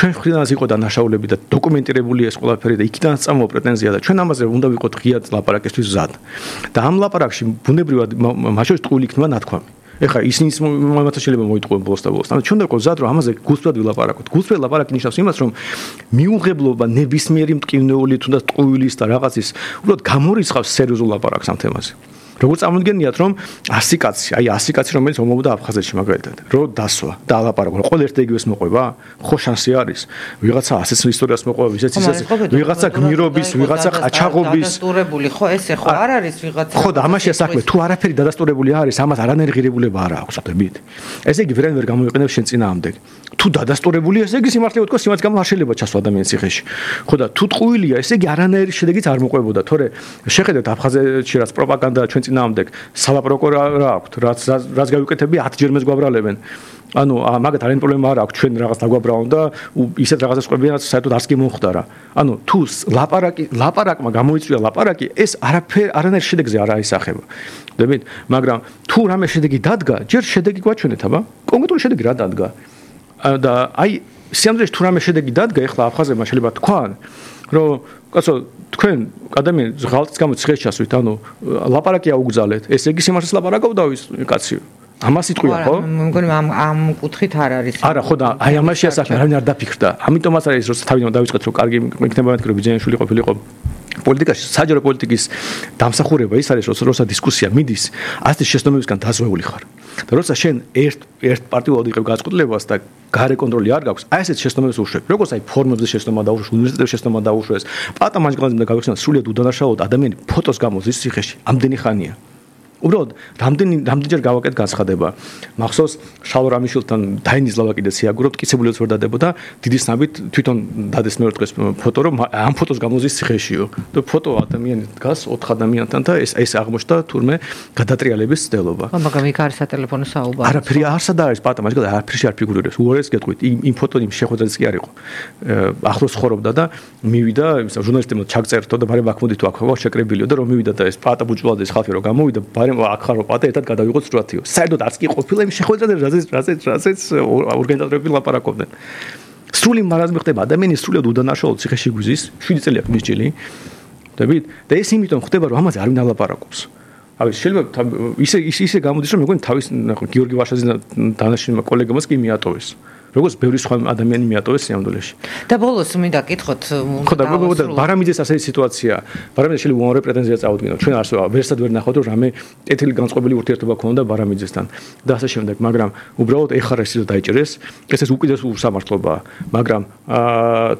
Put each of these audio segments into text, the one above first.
ჩვენ ხრიდანაც იყო დანაშაულები და დოკუმენტირებული ეს ყველაფერი და იქიდან წამოვა პრეტენზია და ჩვენ ამაზე უნდა ვიყოთ ღიად ლაპარაკისთვის მზად. და ამ ლაპარაკში ბუნებრივად მაშინ ტყუილი იქნება ნათქვამი. ეხლა ისინი მომავალ შეიძლება მოიტყუენ ბოლოს და ბოლოს. ანუ ჩვენ და მზად რომ ამაზე გულწრფელად ვილაპარაკოთ. გულწრფელი ლაპარაკი ნიშნავს იმას, რომ მიუღებლობა ნებისმიერი მტკივნეული თუნდაც ტყუილის და რაღაცის უბრალოდ გამორიცხავს სერიოზულ ლაპარაკს ამ თემაზე. როგორც წარმოგიდგენიათ რომ 100 კაცი, აი 100 კაცი რომელიც ომობდა აფხაზეთში მაგალითად, რომ დასვა და ალაპარაკო, ყველა ერთ იგივეს მოყვება, ხო შანსი არის. ვიღაცა ასეც ისტორიას მოყვება, ისეც ვიღაცა გმირობის, ვიღაცა ყაჩაღობის. დადასტურებული ხო ესე ხო არ არის ვიღაცა. ხო და ამაშია საქმე, თუ არაფერი დადასტურებული არის, ამას არანაირი ღირებულება არ აქვს, ხდებით? ესე იგი ვერან ვერ გამოიყენებს შენ წინააღმდეგ. თუ დადასტურებული ესე იგი სიმართლე ვთქვა, სიმაც გამო არ შეიძლება ჩასვა ადამიანის ციხეში. ხო და თუ ტყუილია, ესე იგი არანაირი შედეგიც არ მოყვებოდა, თორე შეხედეთ აფხაზეთში რაც პროპაგანდა ჩვენ წინააღმდეგ სალაპარაკო რა აქვს, რაც გავიკეთები 10 ჯერ მეც გვაბრალებენ. ანუ მაგათ არანაირი პრობლემა არ აქვს, ჩვენ რაღაც დაგვაბრალონ და ისეთ რაღაცას ყვებიან, საერთოდ არც კი მომხდარა. ანუ თუ ლაპარაკმა გამოიწვია ლაპარაკი, ეს არანაირი შედეგზე არ აისახება. ხდებით? მაგრამ თუ რამე შედეგი დადგა, ჯერ შედეგი გვაჩვენეთ, აბა? კონკრეტული შედეგი რა დადგა? და აი სიამზეში თუ რამე შედეგი დადგა, ეხლა აფხაზებმა შეიძლება თქვან, რომ კაცო თქვენ ადამიანს ღალატის გამო ციხეში ჩასვით, ანუ ლაპარაკი აუგზალეთ. ესე იგი სიმართლეს ლაპარაკობდა ის კაცი. ამას იტყვია, ხო? მგონი ამ კუთხით არ არის. არა, ხო და აი ამაშია საქმე, არავინ არ დაფიქრდა. ამიტომაც არის, რომ თავიდან დავიწყეთ, რომ კარგი იქნება მეთქი, რომ ბიძიაშვილი ყოფილიყო პოლიტიკაში, საჯარო პოლიტიკის დამსახურება ის არის, როცა დისკუსია მიდის, ასეთი შეცდომებისგან დაზვეული ხარ. და როცა შენ ერთ პარტიულად იყევ გაწყვეტილებას და გარე კონტროლი არ გაქვს, აი ესეთ შეცდომებს უშვებ. როგორც აი ფორმებზე შეცდომა დაუშვეს, უნივერსიტეტებში შეცდომა დაუშვეს, პატა მანჯგალზე და გავიხსნა სრულიად უდანაშაულოდ ადამიანი ფოტოს გამოზის ციხეში, ამდენი ხანია. უბრალოდ რამდენჯერ გავაკეთ განცხადება. მახსოვს შალვა რამიშვილთან დაინის ლავაკიდეც იაგურობთ, კიცებულიაც ვერ დადებოდა, დიდი ცნობით თვითონ დადეს მეორე დღეს ფოტო, რომ ამ ფოტოს გამოზის ციხეშიო. და ფოტო ადამიანი დგას 4 ადამიანთან და ეს აღმოჩნდა თურმე გადატრიალების ცდელობა. მაგრამ იქ არის სატელეფონო საუბარი. არაფერი არსად არის პატა მაშინ არაფერში არ ფიგურირებს. უარეს გეტყვით, იმ ფოტო იმ შეხვედრაც კი არ იყო. ახლოს ხორობდა და მივიდა, ჟურნალისტებმა ჩაგწერთო და ბარემ აქ მოდი თუ აქ ხო შეკრებილიო და რომ მივიდა და ეს პატა ბუჭულაძის ხალხი რომ გამოვიდა, ბარემ აქ ხარო პატა ერთად გადავიღოთ სტრუქტიო. საერთოდ არც კი ყოფილა იმ შეხვედრაზე, რაზეც ორგანიზატორები ლაპარაკობდნენ. სრული მარაზმი ხდება, ადამიანი სრულად უდანაშაულოდ ციხეში გვიზის, 7 წელი აქვს მისჯილი. ხდებით? და ეს იმიტომ ხდება, რომ ამაზე არავინ არ ლაპარაკობს. ავი შეიძლება ისე გამოდის, რომ მეგონი თავის გიორგი ვაშაძის დანაშენმა კოლეგამაც კი მიატოვეს. როგორც ბევრი სხვა ადამიანი მიატოვეს სიამდვილეში. და ბოლოს მინდა კითხოთ, ხო და ბარამიძეს ასეთი სიტუაცია, ბარამიძე შეიძლება უამრავი პრეტენზია წაუდგინოთ. ჩვენ არსო ვერსად ვერ ნახავთ, რომ რამე კეთილი განწყობილი ურთიერთობა ქონდა ბარამიძესთან და ასე შემდეგ, მაგრამ უბრალოდ ეხარ ეს დაიჭერეს, ეს უკიდურეს უსამართლობაა, მაგრამ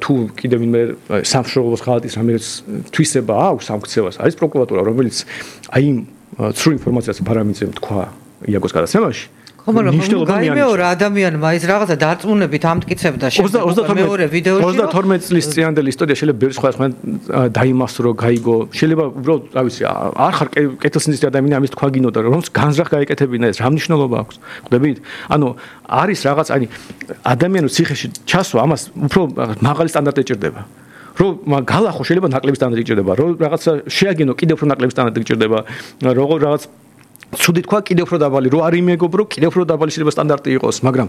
თუ კიდევ ვინმე სამშობლოს ღალატის რამეც თვისება აქვს სამქცევას, არის პროკურატურა, რომელიც აი ცრუ ინფორმაციას ბარამიძემ თქვა იაგოს გადაცემაში. მაგრამ გაიმეორა ადამიანმა ის რაღაცა დარწმუნებით ამტკიცებდა შემდეგ მეორე ვიდეოში 32 წლის წინანდელი ისტორია შეიძლება ბევრი სხვა დაიმასრო, გაიგო, შეიძლება უბრალოდ რა ვიცი, არ ხარ კეთილსინდისის ადამიანი ამის თქვა გინოდა, რომ განზრახ გაეკეთებინა ეს რა მნიშვნელობა აქვს, ხვდებით? ანუ არის რაღაც, აი ადამიანის ციხეში ჩასვა, ამას უფრო მაღალი სტანდარტი ეჭირდება. რომ გალახო შეიძლება ნაკლები სტანდარტი ეჭირდება, რომ რაღაცა შეაგინო კიდევ უფრო ნაკლები სტანდარტი ეჭირდება, რაღაც ცუდი თქვა კიდევ უფრო დაბალი, რო არ იმეგობ, რომ კიდევ უფრო დაბალი შეიძლება სტანდარტი იყოს, მაგრამ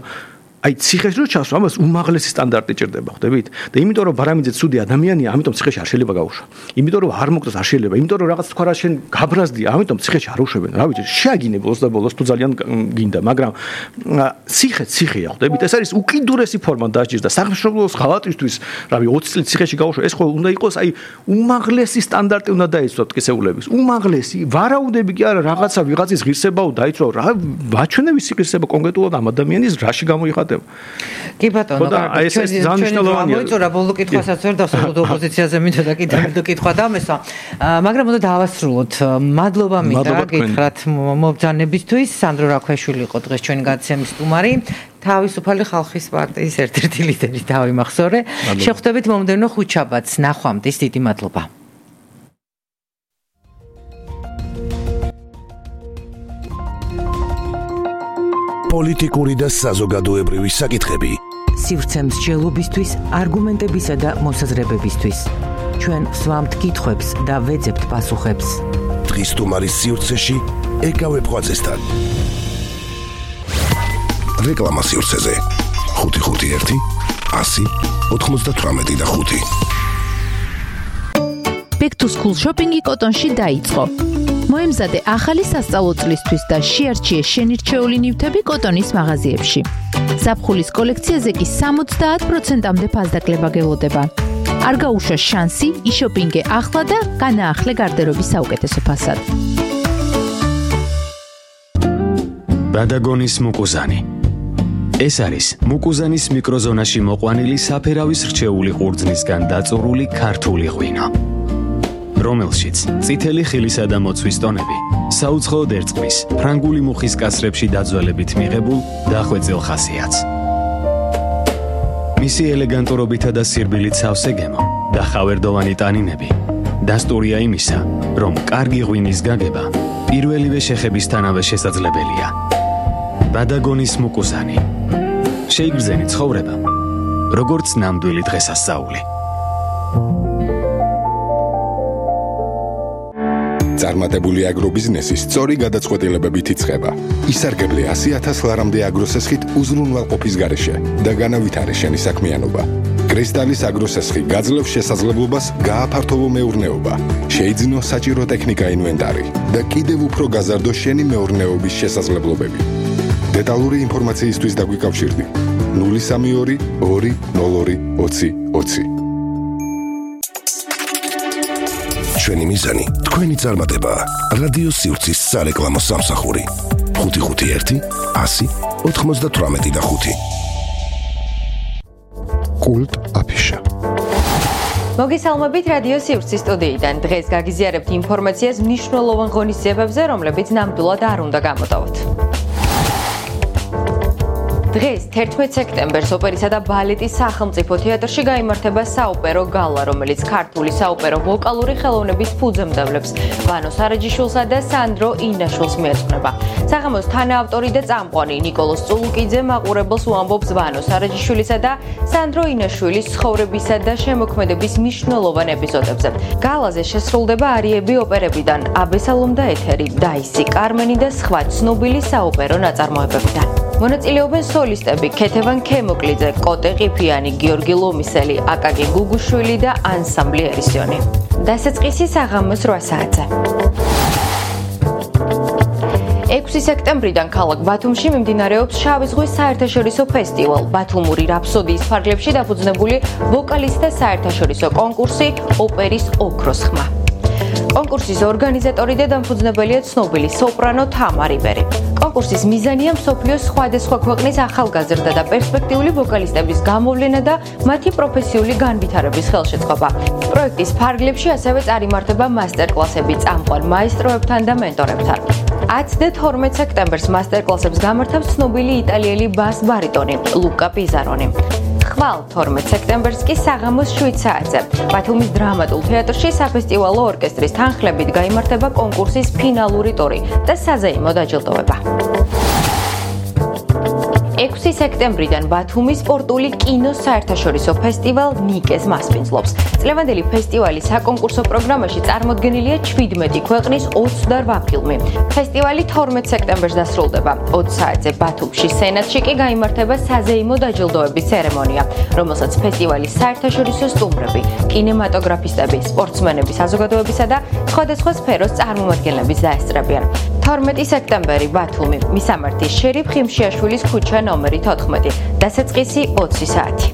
აი ციხეში რო ჩასვა, ამას უმაღლესი სტანდარტი ჭირდება, ხვდებით? და იმიტომ რომ ბარამიძე ცუდი ადამიანია, ამიტომ ციხეში არ შეიძლება გაუშვა. იმიტომ რომ არ მოკდეს არ შეიძლება, იმიტომ რომ რაღაც თქვა რა შენ გაბრაზდია, ამიტომ ციხეში არ უშვებენ. რა ვიცი, შეაგინე ბოლოს და ბოლოს თუ ძალიან გინდა, მაგრამ ციხეა, ხვდებით? ეს არის უკიდურესი ფორმა დაჭირდა სამშობლოს ღალატისთვის, რავი 20 წელი ციხეში გაუშვა, ეს ხო უნდა იყოს აი უმაღლესი სტანდარტი უნდა დაიცვათ კისეულების. უმაღლესი, ვარაუდები კი არა, რაღაცა ვიღაცის ღირსებაო დაიცვა, რა ვაჩვენე ვისი ღირსება კონკრეტულად ამ ადამიანის რაში გამოიხატება. კი ბატონო, ჩვენ მოიწურა ბოლო კითხვასაც ვერ დავსრულოთ ოპოზიციაზე მინდოდა კიდევ ერთ კითხვა დამესვა, მაგრამ უნდა დავასრულოთ. მადლობა მინდა გითხრათ მობრძანებისთვის. სანდრო რაქვეშვილი იყო დღეს ჩვენი გადაცემის სტუმარი. თავისუფალი ხალხის პარტიის ერთ-ერთი ლიდერი დავიმახსოვრე. შეხვდებით მომდევნო ხუთშაბათს. ნახვამდის, დიდი მადლობა. პოლიტიკური და საზოგადოებრივი საკითხები. სივრცემს მსჯელობისთვის, არგუმენტებისა და მოსაზრებებისთვის. ჩვენ ვსვამთ კითხვებს და ვეძებთ პასუხებს. დღის სტუმარის სივრცეში ეკავე ფღვაწესთან. რეკლამა სივრცეზე 551 100-98. Back to school shopping-ი კოტონში დაიწყო. მოემზადე ახალი სასწავლო წლისთვის და შეარჩიე შენირჩეული ნივთები კოტონის მაღაზიებში. ზაფხულის კოლექციაზე კი 70%-მდე ფასდაკლება გელოდება. არ გაუშვა შანსი, იშოპინგე ახლა და განაახლე გარდერობის საუკეთესო ფასად. ბადაგონის მუკუზანი. ეს არის მუკუზანის მიკროზონაში მოყვანილი საფერავის რჩეული ყურძნისგან დაწურული ქართული ღვინო, რომელშიც წითელი ხილისა და მოცვის ტონები საუცხოოდ ერწყმის ფრანგული მუხის კასრებში დაძველებით მიღებულ დახვეწილ ხასიათს. მისი ელეგანტურობითა და სირბილით სავსე გემო და ხავერდოვანი ტანინები დასტურია იმისა, რომ კარგი ღვინის გაგება პირველივე შეხებისთანავე შესაძლებელია. ბადაგონის მუკუზანი. შეიგრძენი ცხოვრება, როგორც ნამდვილი დღესასწაული. წარმატებული აგრობიზნესი სწორი გადაწყვეტილებებით იწყება. ისარგებლე 100,000 ლარამდე აგროსესხით უზრუნველყოფის გარეშე და განავითარე შენი საქმიანობა. კრისტალის აგროსესხი გაძლევს შესაძლებლობას გააფართოვო მეურნეობა, შეიძინო საჭირო ტექნიკა ინვენტარი და კიდევ უფრო გაზარდო შენი მეურნეობის შესაძლებლობები. დეტალური ინფორმაციისთვის დაგვიკავშირდი 032 202 20 20. ჩვენი მიზანი თქვენი წარმატება. რადიო სივრცის სარეკლამო სამსახური 551 100 98. კულტ აფიშა. მოგესალმებით რადიო სივრცის სტუდიიდან. დღეს გაგიზიარებთ ინფორმაციას მნიშვნელოვან ღონისძიებებზე, რომლებიც ნამდვილად არ უნდა გამოტოვოთ. დღეს 11 სექტემბერს ოპერისა და ბალეტის სახელმწიფო თეატრში გაიმართება საოპერო გალა, რომელიც ქართული საოპერო ვოკალური ხელოვნების ფუძემდებლებს ვანო სარაჯიშვილსა და სანდრო ინაშვილს მიეძღვნება. საღამოს თანაავტორი და წამყვანი ნიკოლოზ წულუკიძე მაყურებელს უამბობს ვანო სარაჯიშვილისა და სანდრო ინაშვილის ცხოვრებისა და შემოქმედების მნიშვნელოვან ეპიზოდებზე. გალაზე შესრულდება არიები ოპერებიდან, აბესალომ და ეთერი, დაისი, კარმენი და სხვა ცნობილი საოპერო ნაწარმოებებიდან. მონაწილეობენ სოლისტები ქეთევან ქემოკლიძე, კოტე ყიფიანი, გიორგი ლომისელი, აკაკი გუგუშვილი და ანსამბლი ერისიონი. დასაწყისი საღამოს 8 საათზე. 6 სექტემბრიდან ქალაქ ბათუმში მიმდინარეობს შავი ზღვის საერთაშორისო ფესტივალ. ბათუმური რაფსოდიის ფარგლებში დაფუძნებული ვოკალისტთა საერთაშორისო კონკურსი ოპერის ოქროს ხმა. კონკურსის ორგანიზატორი და დამფუძნებელია ცნობილი სოპრანო თამარი ბერი. კონკურსის მიზანია მსოფლიოს სხვადასხვა ქვეყნის ახალგაზრდა და პერსპექტიული ვოკალისტების გამოვლენა და მათი პროფესიული განვითარების ხელშეწყობა. პროექტის ფარგლებში ასევე წარიმართება მასტერკლასები წამყვან მაესტროებთან და მენტორებთან. 10 და 12 სექტემბერს მასტერკლასებს გამართავს ცნობილი იტალიელი ბას ბარიტონი ლუკა პიზარონი. ხვალ 12 სექტემბერს კი საღამოს 7 საათზე ბათუმის დრამატულ თეატრში საფესტივალო ორკესტრის თანხლებით გაიმართება კონკურსის ფინალური ტური და საზეიმო დაჯილდოება. 6 სექტემბრიდან ბათუმის სპორტული კინოს საერთაშორისო ფესტივალ ნიკეს მასპინძლობს. წლევანდელი ფესტივალის საკონკურსო პროგრამაში წარმოდგენილია 17 ქვეყნის 28 ფილმი. ფესტივალი 12 სექტემბერს დასრულდება. 20 საათზე ბათუმში სენატში კი გაიმართება საზეიმო დაჯილდოების ცერემონია, რომელსაც ფესტივალის საერთაშორისო სტუმრები, კინემატოგრაფისტები, სპორტსმენები საზოგადოებისა და სხვადასხვა სფეროს წარმომადგენლები დაესწრებიან. 12 სექტემბერი ბათუმი, მისამართი შერიფ ხიმშიაშვილის ქუჩა ნომერი 14, დასაწყისი 20 საათი.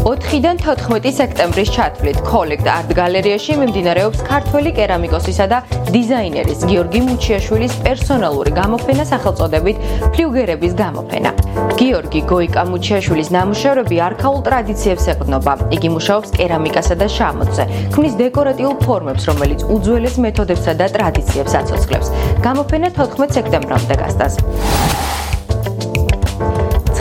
4-დან 14 სექტემბრის ჩათვლით კოლექტ არტ გალერეაში მიმდინარეობს ქართველი კერამიკოსისა და დიზაინერის გიორგი მუჩიაშვილის პერსონალური გამოფენა სახელწოდებით ფლიუგერების გამოფენა. გიორგი გოიკა მუჩიაშვილის ნამუშევრები არქაულ ტრადიციებს ეყრდნობა. იგი მუშაობს კერამიკასა და შამოთზე, ქმნის დეკორატიულ ფორმებს, რომელიც უძველეს მეთოდებსა და ტრადიციებს აცოცხლებს. გამოფენა 14 სექტემბრამდე გასტას.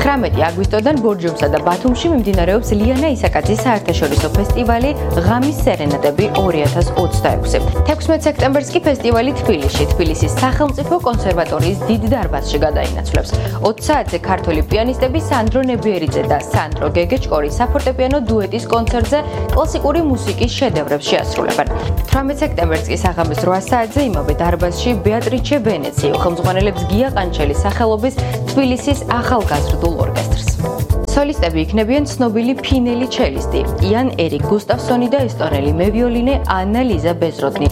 19 აგვისტოდან ბორჯომსა და ბათუმში მიმდინარეობს ლიანა ისაკაძის საერთაშორისო ფესტივალი ღამის სერენადები 2026. 16 სექტემბერს კი ფესტივალი თბილისის სახელმწიფო კონსერვატორიის დიდ დარბაზში გადაინაცვლებს. 20 საათზე ქართველი პიანისტები სანდრო ნებიერიძე და სანდრო გეგეჭკორი საფორტეპიანო დუეტის კონცერტზე კლასიკური მუსიკის შედევრებს შეასრულებენ. 18 სექტემბერს კი საღამოს 8 საათზე იმავე დარბაზში ბეატრიჩე ვენეცი ხელმძღვანელებს გია ყანჩელის სახელობის თბილისის ახალგაზრდულ ორკესტრს. სოლისტები იქნებიან ცნობილი ფინელი ჩელისტი, იან ერიკ გუსტავსონი და ესტონელი მევიოლინე ანა ლიზა ბეზროდნი.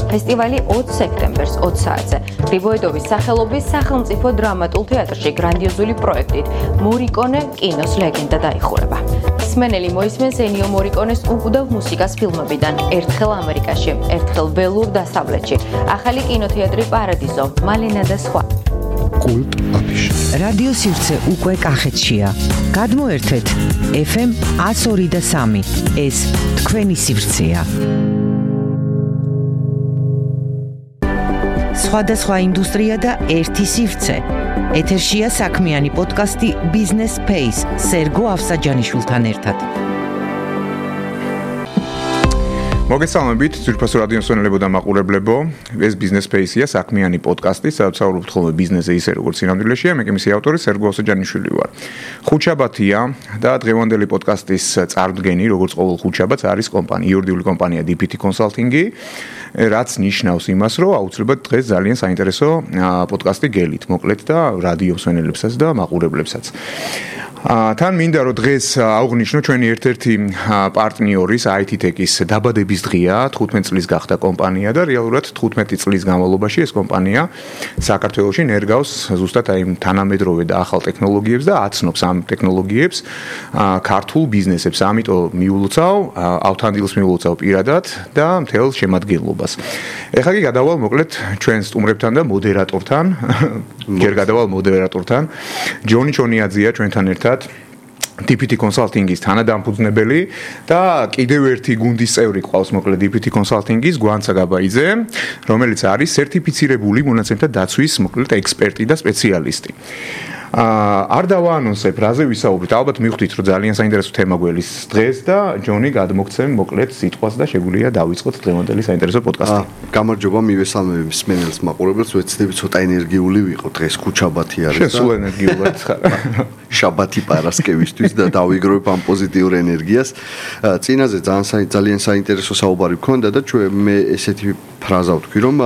ფესტივალი 20 სექტემბერს 20 საათზე გრიბოედოვის სახელობის სახელმწიფო დრამატულ თეატრში გრანდიოზული პროექტით მორიკონე კინოს ლეგენდა დაიხურება. მსმენელი მოისმენს ენიო მორიკონეს უკუდავ მუსიკას ფილმებიდან ერთხელ ამერიკაში, ერთხელ ველურ დასავლეთში, ახალი კინოთეატრი პარადიზო, მალენა და სხვა. კულტ აფიში. რადიო სივრცე უკვე კახეთშია. გადმოერთვეთ FM 102.3. ეს თქვენი სივრცეა. სხვადასხვა ინდუსტრია და ერთი სივრცე. ეთერშია საქმიანი პოდკასტი Business Space სერგო ავსაჯანიშვილთან ერთად. მოგესალმებით, ძვირფასო რადიო მსმენელებო და მაყურებლებო. ეს Business Space-ია საქმიანი პოდკასტი, სადაც საუბრობთ ხოლმე ბიზნესზე ისე როგორც სინამდვილეშია. მე კი მისი ავტორი სერგო ავსაჯანიშვილი ვარ. ხუთშაბათია და დღევანდელი პოდკასტის წარმდგენი, როგორც ყოველ ხუთშაბათს არის იურიდიული კომპანია DPT Consulting-ი. რაც ნიშნავს იმას, რომ აუცილებლად დღეს ძალიან საინტერესო პოდკასტი გელით, მოკლედ და რადიო მსმენელებსაც და მაყურებლებსაც. თან მინდა რომ დღეს აღვნიშნო ჩვენი ერთ-ერთი პარტნიორის IT Tech-ის დაბადების დღეა, 15 წლის გახდა კომპანია და რეალურად 15 წლის განმავლობაში ეს კომპანია საქართველოში ნერგავს ზუსტად აი თანამედროვე და ახალ ტექნოლოგიებს და აცნობს ამ ტექნოლოგიებს ქართულ ბიზნესებს. ამიტომ მიულოცავ, ავთანდილს მიულოცავ პირადად და მთელ შემადგენლობას. ეხლა კი გადავალ მოკლედ ჩვენ სტუმრებთან და მოდერატორთან, ჯერ გადავალ მოდერატორთან. ჯონი ჩონიაძეა ჩვენთან ერთად DPT Consulting-ის თანადამფუძნებელი და კიდევ ერთი გუნდის წევრი ყავს მოკლედ DPT Consulting-ის გვანცა გაბაიძე, რომელიც არის სერტიფიცირებული მონაცემთა დაცვის მოკლედ ექსპერტი და სპეციალისტი. არ დავაანონსებ რაზე ვისაუბრეთ, ალბათ მივხვდით რომ ძალიან საინტერესო თემა გველის დღეს და ჯონი გადმოგცემ მოკლედ სიტყვას და შეგვიძლია დავიწყოთ დღევანდელი საინტერესო პოდკასტი. გამარჯობა, მივესალმებ მსმენელს, მაყურებელს, ვეცდები ცოტა ენერგიული ვიყო დღეს ხუთშაბათი არის და სულ ენერგიულად ხარ. შაბათი პარასკევისთვის და დავიგროვებ ამ პოზიტიურ ენერგიას. წინაზე ძალიან საინტერესო საუბარი გქონდა და მე ესეთი ფრაზა ვთქვი რომ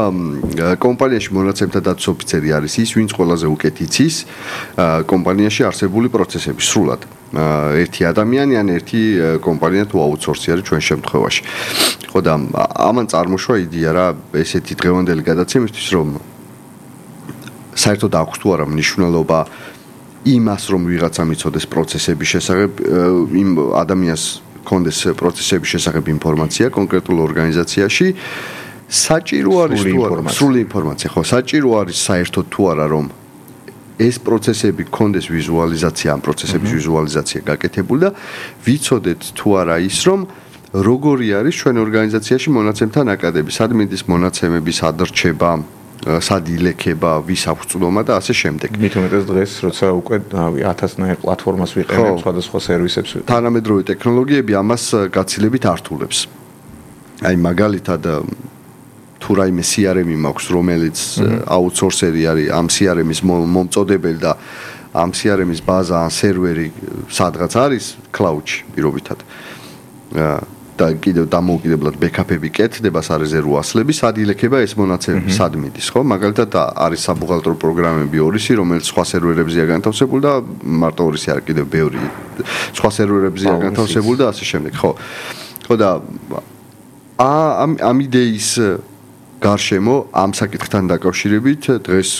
კომპანიაში მონაცემთა დაცვის ოფიცერი არის ის, ვინც ყველაზე უკეთ იცის კომპანიაში არსებული პროცესები სრულად. ერთი ადამიანი ან ერთი კომპანია თუ აუთსორსი არის ჩვენ შემთხვევაში. ხო და ამან წარმოშვა იდეა რა ესეთი დღევანდელი გადაცემისთვის რომ საერთოდ აქვს თუ არა მნიშვნელობა იმას რომ ვიღაცა მიცოდეს პროცესების შესახებ, იმ ადამიანს კონდეს პროცესების შესახებ ინფორმაცია კონკრეტულ ორგანიზაციაში. საჭირო არის თუ არა სრული ინფორმაცია, ხო, საჭირო არის საერთოდ თუ არა რომ ეს პროცესები კონდეს ვიზუალიზაცია, ამ პროცესების ვიზუალიზაცია გაკეთებული და ვიცოდეთ თუ არა ის რომ როგორი არის ჩვენ ორგანიზაციაში მონაცემთა ნაკადები, სად მიდის მონაცემების ადრჩება, სად ილექება, ვის აქვს წვდომა და ასე შემდეგ. მით უმეტეს დღეს როცა უკვე 1000-ნაირ პლატფორმას ვიყენებ სხვადასხვა სერვისებს. თანამედროვე ტექნოლოგიები ამას გაცილებით ართულებს. აი მაგალითად თუ რაიმე CRM-ი მაქვს, რომელიც აუთსორსერი არის ამ CRM-ის მომწოდებელი და ამ CRM-ის ბაზა ან სერვერი სადღაც არის cloud-ში პირობითად. და კიდევ დამოუკიდებლად ბექაპები კეთდება, სარეზერვო ასლები, სად ილექება ეს მონაცემები, სად მიდის, ხო? მაგალითად არის საბუღალტრო პროგრამები ორისი, რომელიც სხვა სერვერებზეა განთავსებული და მარტო ორისი არ კიდევ ბევრი სხვა სერვერებზეა განთავსებული და ასე შემდეგ, ხო? ხო და ამ იდეის გარშემო ამ საკითხთან დაკავშირებით დღეს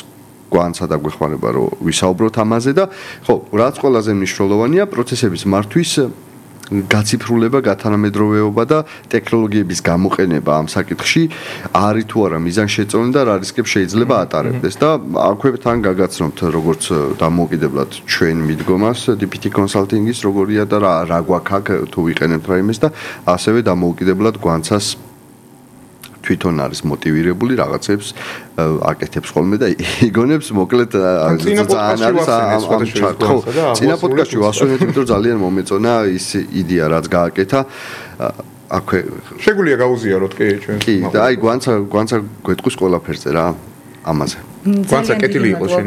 გვანცა დაგვეხმარება რომ ვისაუბროთ ამაზე და ხო, რაც ყველაზე მნიშვნელოვანია პროცესების მართვის გაციფრულება, გათანამედროვეობა და ტექნოლოგიების გამოყენება ამ საკითხში არის თუ არა მიზანშეწონილი და რა რისკებს შეიძლება ატარებდეს და აქვე თან გაგაცნობთ როგორც დამოუკიდებლად ჩვენ მიდგომას DPT Consulting-ის როგორია და რა გვაქვს აქ თუ ვიყენებთ რაიმეს და ასევე დამოუკიდებლად გვანცას თვითონ არის მოტივირებული რაღაცებს აკეთებს ხოლმე და იგონებს მოკლედ ძალიან არის ამ ჩარტო. წინა პოდკასტში ვასვენეთ, იმიტომ ძალიან მომეწონა ის იდეა რაც გააკეთა. აქვე შეგვიძლია გაუზიაროთ კი ჩვენ. კი, და აი გვანცა გვეტყვის ყველაფერზე რა ამაზე. გვანცა კეთილი იყო შენ.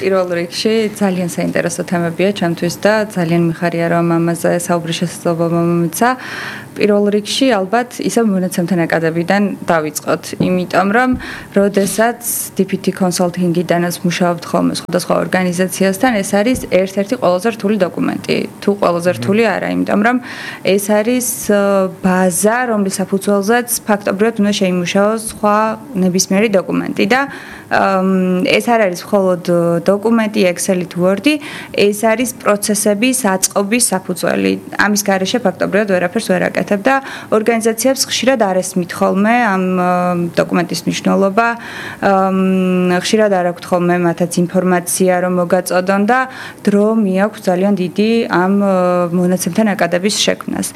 პირველ რიგში ძალიან საინტერესო თემებია ჩემთვის და ძალიან მიხარია რომ ამაზე საუბრის შესაძლებლობა მომეცა. პირველ რიგში ალბათ ისევ მონაცემთა ნაკადებიდან დავიწყოთ, იმიტომ რომ როდესაც DPT კონსალტინგიდანაც მუშაობთ ხოლმე სხვადასხვა ორგანიზაციასთან, ეს არის ერთ-ერთი ყველაზე რთული დოკუმენტი. თუ ყველაზე რთული არა, იმიტომ რომ ეს არის ბაზა, რომლის საფუძველზეც ფაქტობრივად უნდა შეიმუშაოს სხვა ნებისმიერი დოკუმენტი და ეს არ არის მხოლოდ დოკუმენტი, Excel-ი თუ Word-ი, ეს არის პროცესების აწყობის საფუძველი. ამის გარეშე ფაქტობრივად ვერაფერს ვერ აკეთებ და ორგანიზაციებს ხშირად არ ესმით ხოლმე ამ დოკუმენტის მნიშვნელობა, ხშირად არ აქვთ ხოლმე მათაც ინფორმაცია, რომ მოგაწოდონ და დრო მიაქვს ძალიან დიდი ამ მონაცემთა ნაკადების შექმნას.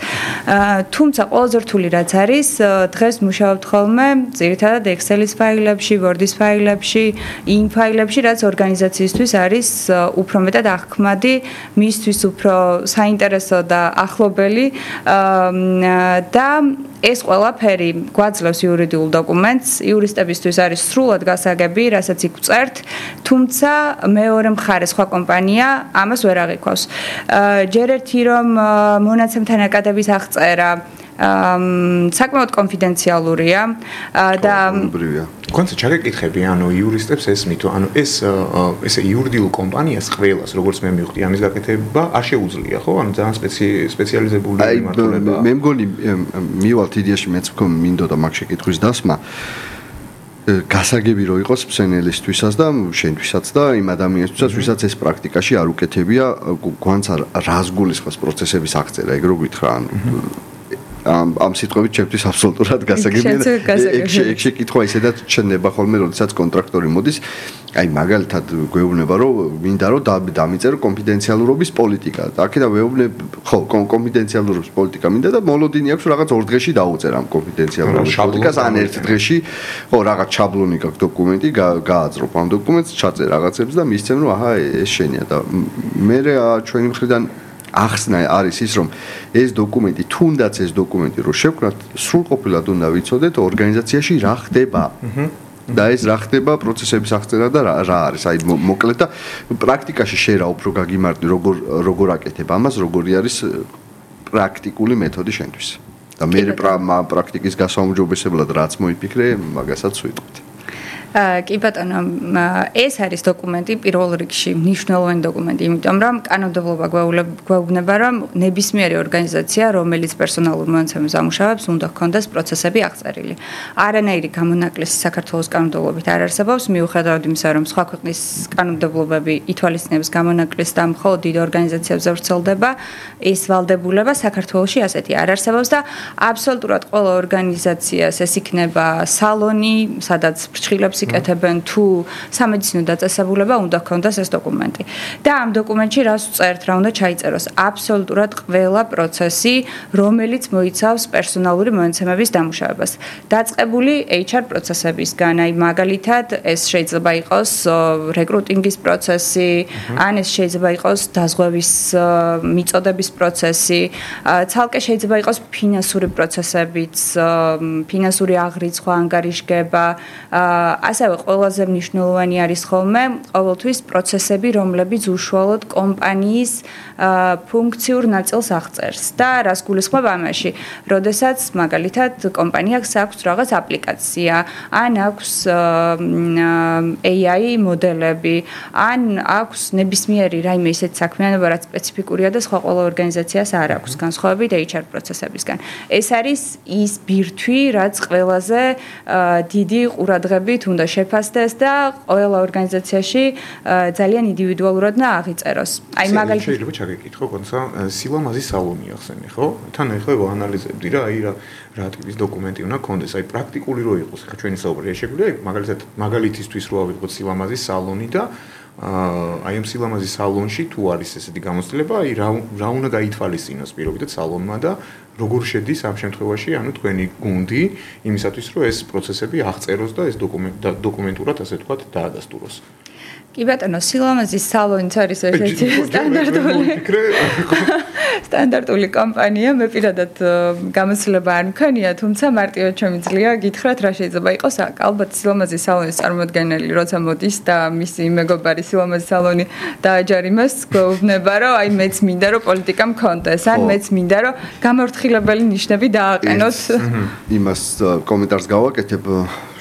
თუმცა ყველაზე რთული რაც არის, დღეს მუშაობთ ხოლმე ძირითადად Excel-ის ფაილებში, Word-ის ფაილებში, იმ ფაილებში, რაც ორგანიზაციისთვის არის უფრო მეტად აღქმადი, მისთვის უფრო საინტერესო და ახლობელი და ეს ყველაფერი გვაძლევს იურიდიულ დოკუმენტს, იურისტებისთვის არის სრულად გასაგები, რასაც იქ ვწერთ, თუმცა მეორე მხარე სხვა კომპანია ამას ვერ აღიქვავს. ჯერ ერთი რომ მონაცემთა ნაკადების აღწერა საკმაოდ კონფიდენციალურია და კონცე ჩაგეკითხები, ანუ იურისტებს ესმით, ანუ ეს იურიდიულ კომპანიას ყველას, როგორც მე მივხვდი, ამის გაკეთება არ შეუძლია, ხო? ანუ ძალიან სპეციალიზებული მიმართულებაა. მე მგონი მივალთ იდეაში მეც მინდოდა მაგ შეკითხვის დასმა. გასაგები რო იყოს მსენელისთვისაც და შენთვისაც და იმ ადამიანისთვისაც, ვისაც ეს პრაქტიკაში არ უკეთებია, გვანც რას გულისხმობს პროცესების აღწერა, ეგ რო გითხრა, ანუ ამ სიტყვებით ჩემთვის აბსოლუტურად გასაგებია. ეგ შეკითხვა ისედაც ჩნდება ხოლმე, როდესაც კონტრაქტორი მოდის, აი მაგალითად გვეუბნება, რომ მინდა რომ დამიწერო კონფიდენციალურობის პოლიტიკა. აქედან ვეუბნებ, ხო, კონფიდენციალურობის პოლიტიკა მინდა და მოლოდინი აქვს რაღაც 2 დღეში დაუწერა ამ კონფიდენციალურობის პოლიტიკას, ან 1 დღეში, ხო, რაღაც შაბლონი გაქვს დოკუმენტი, გააძრობ ამ დოკუმენტს, ჩაწერ რაღაცებს და მისცემ, რომ აჰა, ეს შენია და მე ჩვენი მხრიდან ახსნა არის ის, რომ ეს დოკუმენტი, თუნდაც ეს დოკუმენტი რო შევკრათ, სრულყოფილად უნდა ვიცოდეთ ორგანიზაციაში რა ხდება. და ეს რა ხდება პროცესების აღწერა და რა არის. აი მოკლედ და პრაქტიკაში შე რა უფრო გაგიმარტი, როგორ აკეთებ ამას, როგორი არის პრაქტიკული მეთოდი შენთვის. და მე პრაქტიკის გასაუმჯობესებლად რაც მოიფიქრე, მაგასაც ვიტყვით. კი ბატონო, ეს არის დოკუმენტი პირველ რიგში, მნიშვნელოვანი დოკუმენტი, იმიტომ რომ კანონმდებლობა გვეუბნება, რომ ნებისმიერი ორგანიზაცია, რომელიც პერსონალურ მონაცემებს ამუშავებს, უნდა ჰქონდეს პროცესები აღწერილი. არანაირი გამონაკლისი საქართველოს კანონმდებლობით არ არსებობს, მიუხედავად იმისა, რომ სხვა ქვეყნის კანონმდებლობები ითვალისწინებს გამონაკლისს და მხოლოდ დიდ ორგანიზაციებზე ვრცელდება, ეს ვალდებულება საქართველოში ასეთი არ არსებობს და აბსოლუტურად ყველა ორგანიზაციას ეს იქნება სალონი, სადაც ფრჩხილებს იკეთებენ თუ სამედიცინო დაწესებულება უნდა ჰქონდეს ეს დოკუმენტი. და ამ დოკუმენტში რას ვწერთ, რა უნდა ჩაიწეროს? აბსოლუტურად ყველა პროცესი, რომელიც მოიცავს პერსონალური მონაცემების დამუშავებას. დაწყებული HR პროცესებისგან, აი მაგალითად, ეს შეიძლება იყოს რეკრუტინგის პროცესი, ან ეს შეიძლება იყოს დაზღვევის მიწოდების პროცესი, ცალკე შეიძლება იყოს ფინანსური პროცესებიც, ფინანსური აღრიცხვა, ანგარიშგება, ასევე ყველაზე მნიშვნელოვანი არის ხოლმე ყოველთვის პროცესები, რომლებიც უშუალოდ კომპანიის ფუნქციურ ნაწილს აღწერს და რას გულისხმობ ამაში, როდესაც მაგალითად კომპანიას აქვს რაღაც აპლიკაცია, ან აქვს AI მოდელები, ან აქვს ნებისმიერი რაიმე ისეთი საქმიანობა, რაც სპეციფიკურია და სხვა ყველა ორგანიზაციას არ აქვს, განსხვავებით HR პროცესებისგან. ეს არის ის ბირთვი, რაც ყველაზე დიდი ყურადღებით უნდა შეფასდეს და ყველა ორგანიზაციაში ძალიან ინდივიდუალურად და აღიწეროს. აი მაგალითად შეიძლება ჩაგეკითხო, კონცა სილამაზის სალონი ახსენე, ხო? თან ახლა ვაანალიზებდი რა, აი რა ტიპის დოკუმენტი უნდა ქონდეს, აი პრაქტიკული რო იყოს, ხა ჩვენი საუბრია შეგვიძლია, მაგალითად მაგალითისთვის რო ავიღოთ სილამაზის სალონი და აი ამ სილამაზის სალონში თუ არის ესეთი გამოცდილება, აი რა უნდა გაითვალისწინოს პირობითად სალონმა და როგორ შედის ამ შემთხვევაში, ანუ თქვენი გუნდი იმისათვის, რომ ეს პროცესები აღწეროს და ეს დოკუმენტურად ასე ვთქვათ დაადასტუროს. კი ბატონო, სილამაზის სალონიც არის ერთ-ერთი სტანდარტული. სტანდარტული კომპანია, მე პირადად გამოცდილება არ მქონია, თუმცა მარტივად შემიძლია გითხრათ რა შეიძლება იყოს. ალბათ სილამაზის სალონის წარმოადგენელი, როცა მოდის და მისი მეგობარი სილამაზის სალონი დააჯარიმას, გვეუბნება, რომ აი მეც მინდა რომ პოლიტიკა მქონდეს, ან მეც მინდა რომ გამორთხილებელი ნიშნები დააყენოთ. იმას კომენტარს გავაკეთებ.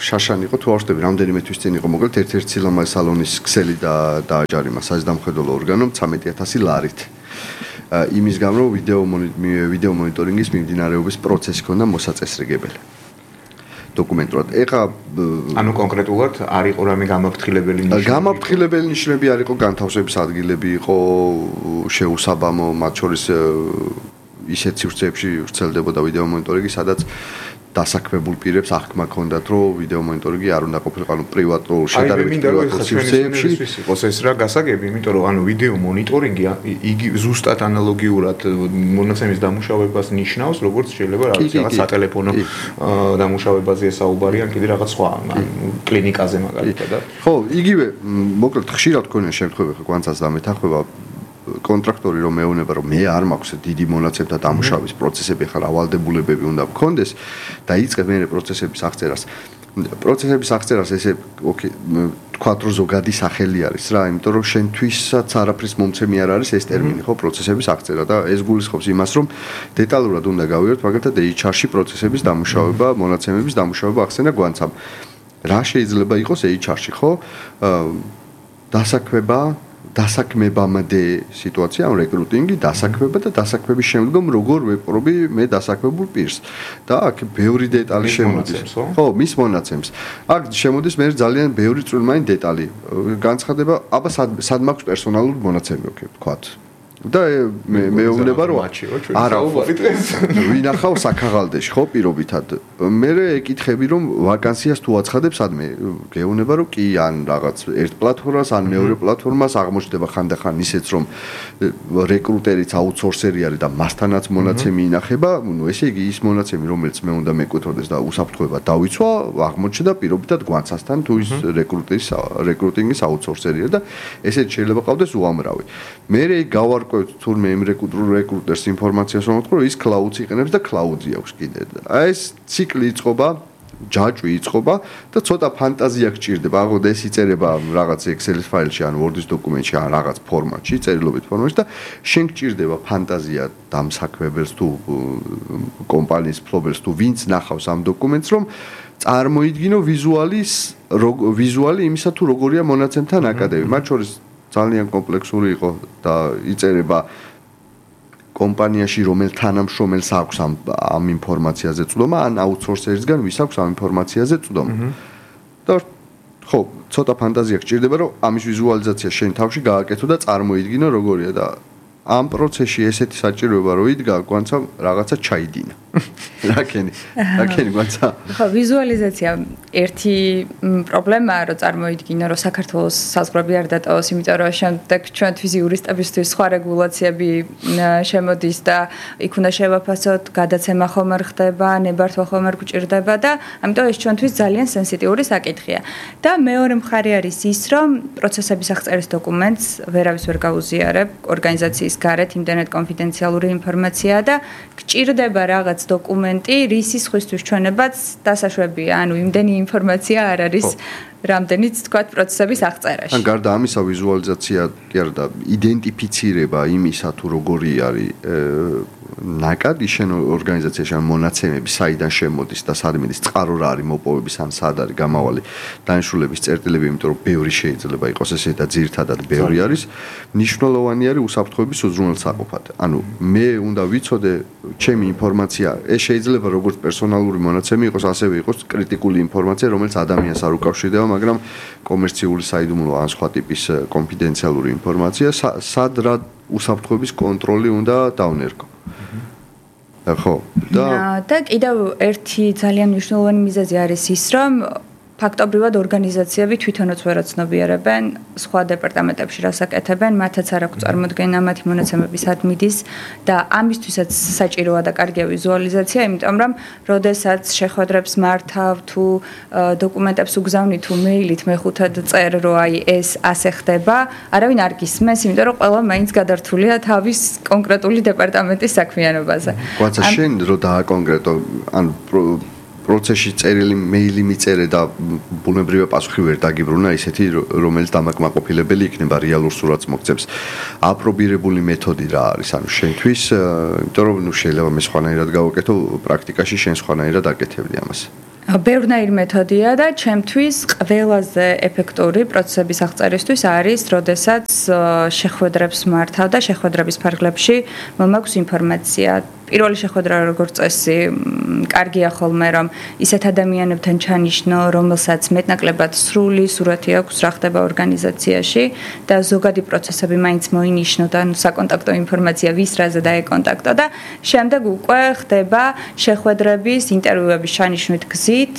შაშან იყო თუ არ ვშტები, რამდენიმე თვის წინ იყო მოკლედ ერთ-ერთი სილამაზის სალონის ქსელი დააჯარიმა საზამხედველო ორგანომ 13000 ლარით. იმის გამო ვიდეო მონიტორინგის მიმდინარეობის პროცესი ქონდა მოსაწესრიგებელი. დოკუმენტურად. ეხა ანუ კონკრეტულად არ იყო რამე გამაფრთხილებელი ნიშნები. გამაფრთხილებელი ნიშნები არ იყო, განთავსების ადგილები იყო შეუსაბამო, მათ შორის ისეთ სივრცეებში ვრცელდებოდა ვიდეო მონიტორინგი, სადაც დასაქმებულ პირებს აღქმა ჰქონდათ, რომ ვიდეო მონიტორინგი არ უნდა ყოფილიყო, ანუ პრივატულ შედარებით პრივატულ სივრცეებში იყოს ეს რა გასაგები, იმიტომ რომ ანუ ვიდეო მონიტორინგი იგი ზუსტად ანალოგიურად მონაცემის დამუშავებას ნიშნავს, როგორც შეიძლება რაღაც სატელეფონო დამუშავებაზე საუბარი ან კიდე რაღაც სხვა, კლინიკაზე მაგალითად. ხო, იგივე, მოკლედ ხშირად ქონია შემთხვევები, ხო, განცაც დამეთანხმება კონტრაქტორი რომ მეუბნება რომ მე არ მაქვს დიდი მონაცემთა დამუშავების პროცესები, ხა რავალდებულებები უნდა მქონდეს და იწყებ მე პროცესების აღწერას. პროცესების აღწერას ესე ოკეი, თქვა რომ ზოგადი სახელი არის რა, იმიტომ რომ შენთვისაც არაფრის მომცემი არ არის ეს ტერმინი, ხო, პროცესების აღწერა და ეს გულისხმობს იმას, რომ დეტალურად უნდა გავიგოთ, მაგალითად HR-ში პროცესების დამუშავება, მონაცემების დამუშავება ახსენა გვანცამ. რა შეიძლება იყოს HR-ში, ხო? დასაქმებამდე სიტუაცია, ან რეკრუტინგი, დასაქმება და დასაქმების შემდგომ როგორ ვეპყრობი მე დასაქმებულ პირს. და აქ ბევრი დეტალი შემოდის. ხო, მის მონაცემს. აქ შემოდის მე ძალიან ბევრი წვრილმანი დეტალი. განცხადება, აბა სად მაქვს პერსონალური მონაცემი, ოკეი, ვთქვათ. და მეუბნება რომ არა ვინახავ საქაღალდეში, ხო, პირობითად. მე ეკითხები რომ ვაკანსიას თუ აცხადებ სადმე, გეუბნება რომ კი, ან რაღაც ერთ პლატფორმას, ან მეორე პლატფორმას აღმოჩნდება ხანდახან ისეც რომ რეკრუტერიც აუთსორსერი არის და მასთანაც მონაცემი ინახება, ნუ ესე იგი ის მონაცემი რომელიც მე უნდა მეკუთვნოდეს და უსაფრთხოება დავიცვა, აღმოჩნდა პირობითად გვანცასთან თუ ის რეკრუტინგის აუთსორსერია და ესეც შეიძლება ყავდეს უამრავი. მე გავარკვევ თურმე იმ რეკრუტერს ინფორმაციას რომ ვთქვა, ის cloud-ს იყენებს და cloud-ი აქვს კიდე. აი ეს ციკლი იწყობა, ჯაჭვი იწყობა და ცოტა ფანტაზია გჭირდება. აღოდ ეს იწერება რაღაც Excel-ის ფაილში ან Word-ის დოკუმენტში ან რაღაც ფორმატში, წერილობით ფორმატში და შენ გჭირდება ფანტაზია დამსაქმებელს თუ კომპანიის ფლობელს თუ ვინც ნახავს ამ დოკუმენტს, რომ წარმოიდგინო ვიზუალი იმისა თუ როგორია მონაცემთა ნაკადები. მათ შორის ძალიან კომპლექსური იყო და იწერება კომპანიაში რომელ თანამშრომელს აქვს ამ ინფორმაციაზე წვდომა, ან აუთსორსერისგან ვის აქვს ამ ინფორმაციაზე წვდომა. და ხო, ცოტა ფანტაზია გჭირდება, რომ ამის ვიზუალიზაცია შენ თავში გააკეთო და წარმოიდგინო როგორია და ამ პროცესში ესეთი საჭიროება რო იდგა, გვანცა რაღაცა ჩაიდინა. რაკენი გვანცა? ხო, ვიზუალიზაცია ერთი პრობლემაა, რომ წარმოიდგინო, რომ საქართველოს საზღვრები არ დატოვოს, იმიტომ რომ შემდეგ ჩვენთვის იურისტებისთვის სხვა რეგულაციები შემოდის და იქ უნდა შევაფასოთ, გადაცემა ხომ არ ხდება, ნებართვა ხომ არ გვჭირდება და ამიტომ ეს ჩვენთვის ძალიან სენსიტიური საკითხია. და მეორე მხარე არის ის, რომ პროცესების აღწერის დოკუმენტს ვერავის ვერ გაუზიარებ, ორგანიზაციის გარეთ იმდენად კონფიდენციალური ინფორმაციაა და გჭირდება რაღაც დოკუმენტი, რის სხვისთვის ჩვენებაც დასაშვებია, ანუ იმდენი ინფორმაცია არ არის, რამდენიც თქვათ პროცესების აღწერაში. ან გარდა ამისა ვიზუალიზაცია კი არა და იდენტიფიცირება იმისა თუ როგორი არის ნაკადი შენ ორგანიზაციაში ან მონაცემები საიდან შემოდის და სად მიდის, წყარო რა არის მოპოვების ან სად არის გამავალი დანიშნულების წერტილები, იმიტომ რომ ბევრი შეიძლება იყოს ესე და ძირთადად ბევრი არის. მნიშვნელოვანი არის უსაფრთხოების უზრუნველსაყოფად. ანუ მე უნდა ვიცოდე ჩემი ინფორმაცია, ეს შეიძლება როგორც პერსონალური მონაცემი იყოს, ასევე იყოს კრიტიკული ინფორმაცია, რომელიც ადამიანს არ უკავშირდება, მაგრამ კომერციული საიდუმლო ან სხვა ტიპის კონფიდენციალური ინფორმაცია, სად რა უსაფრთხოების კონტროლი უნდა დავნერგო. ხო. და კიდევ ერთი ძალიან მნიშვნელოვანი მიზეზი არის ის, რომ ფაქტობრივად ორგანიზაციები თვითონაც ვერაცნობიერებენ სხვა დეპარტამენტებში რასაკეთებენ, მათაც არ აქვს წარმოდგენა მათი მონაცემების სად მიდის და ამისთვისაც საჭიროა და კარგია ვიზუალიზაცია, იმიტომ რომ როდესაც შეხვედრებს მართავ თუ დოკუმენტებს უგზავნი თუ მეილით მეხუთად წერ რომ აი ეს ასე ხდება, არავინ არ გისმენს, იმიტომ რომ ყველა მაინც გადართულია თავის კონკრეტული დეპარტამენტის საქმიანობაზე. ყვაცა შენ რო დააკონკრეტო ან პროცესში წერილი მეილი მიწერე და ბუნებრივია პასუხი ვერ დაგიბრუნა ისეთი რომელიც დამაკმაყოფილებელი იქნება რეალურ სურათს მოგცემს. აპრობირებული მეთოდი რა არის? ანუ შენთვის, იმიტომ რომ შეიძლება მე სხვანაირად გავაკეთო, პრაქტიკაში შენ სხვანაირად აკეთებდი ამას. ბევრნაირი მეთოდია და ჩემთვის ყველაზე ეფექტური პროცესების აღწერისთვის არის, როდესაც შეხვედრებს მართავ და შეხვედრების ფარგლებში მომაქვს ინფორმაცია. პირველი შეხვედრა როგორც წესი კარგია ხოლმე რომ ისეთ ადამიანებთან ჩანიშნო, რომელსაც მეტნაკლებად სრული სურათი აქვს რა ხდება ორგანიზაციაში და ზოგადი პროცესები მაინც მოინიშნო და საკონტაქტო ინფორმაცია ვის რაზე დაეკონტაქტო და შემდეგ უკვე ხდება შეხვედრების, ინტერვიუების ჩანიშვნით გზით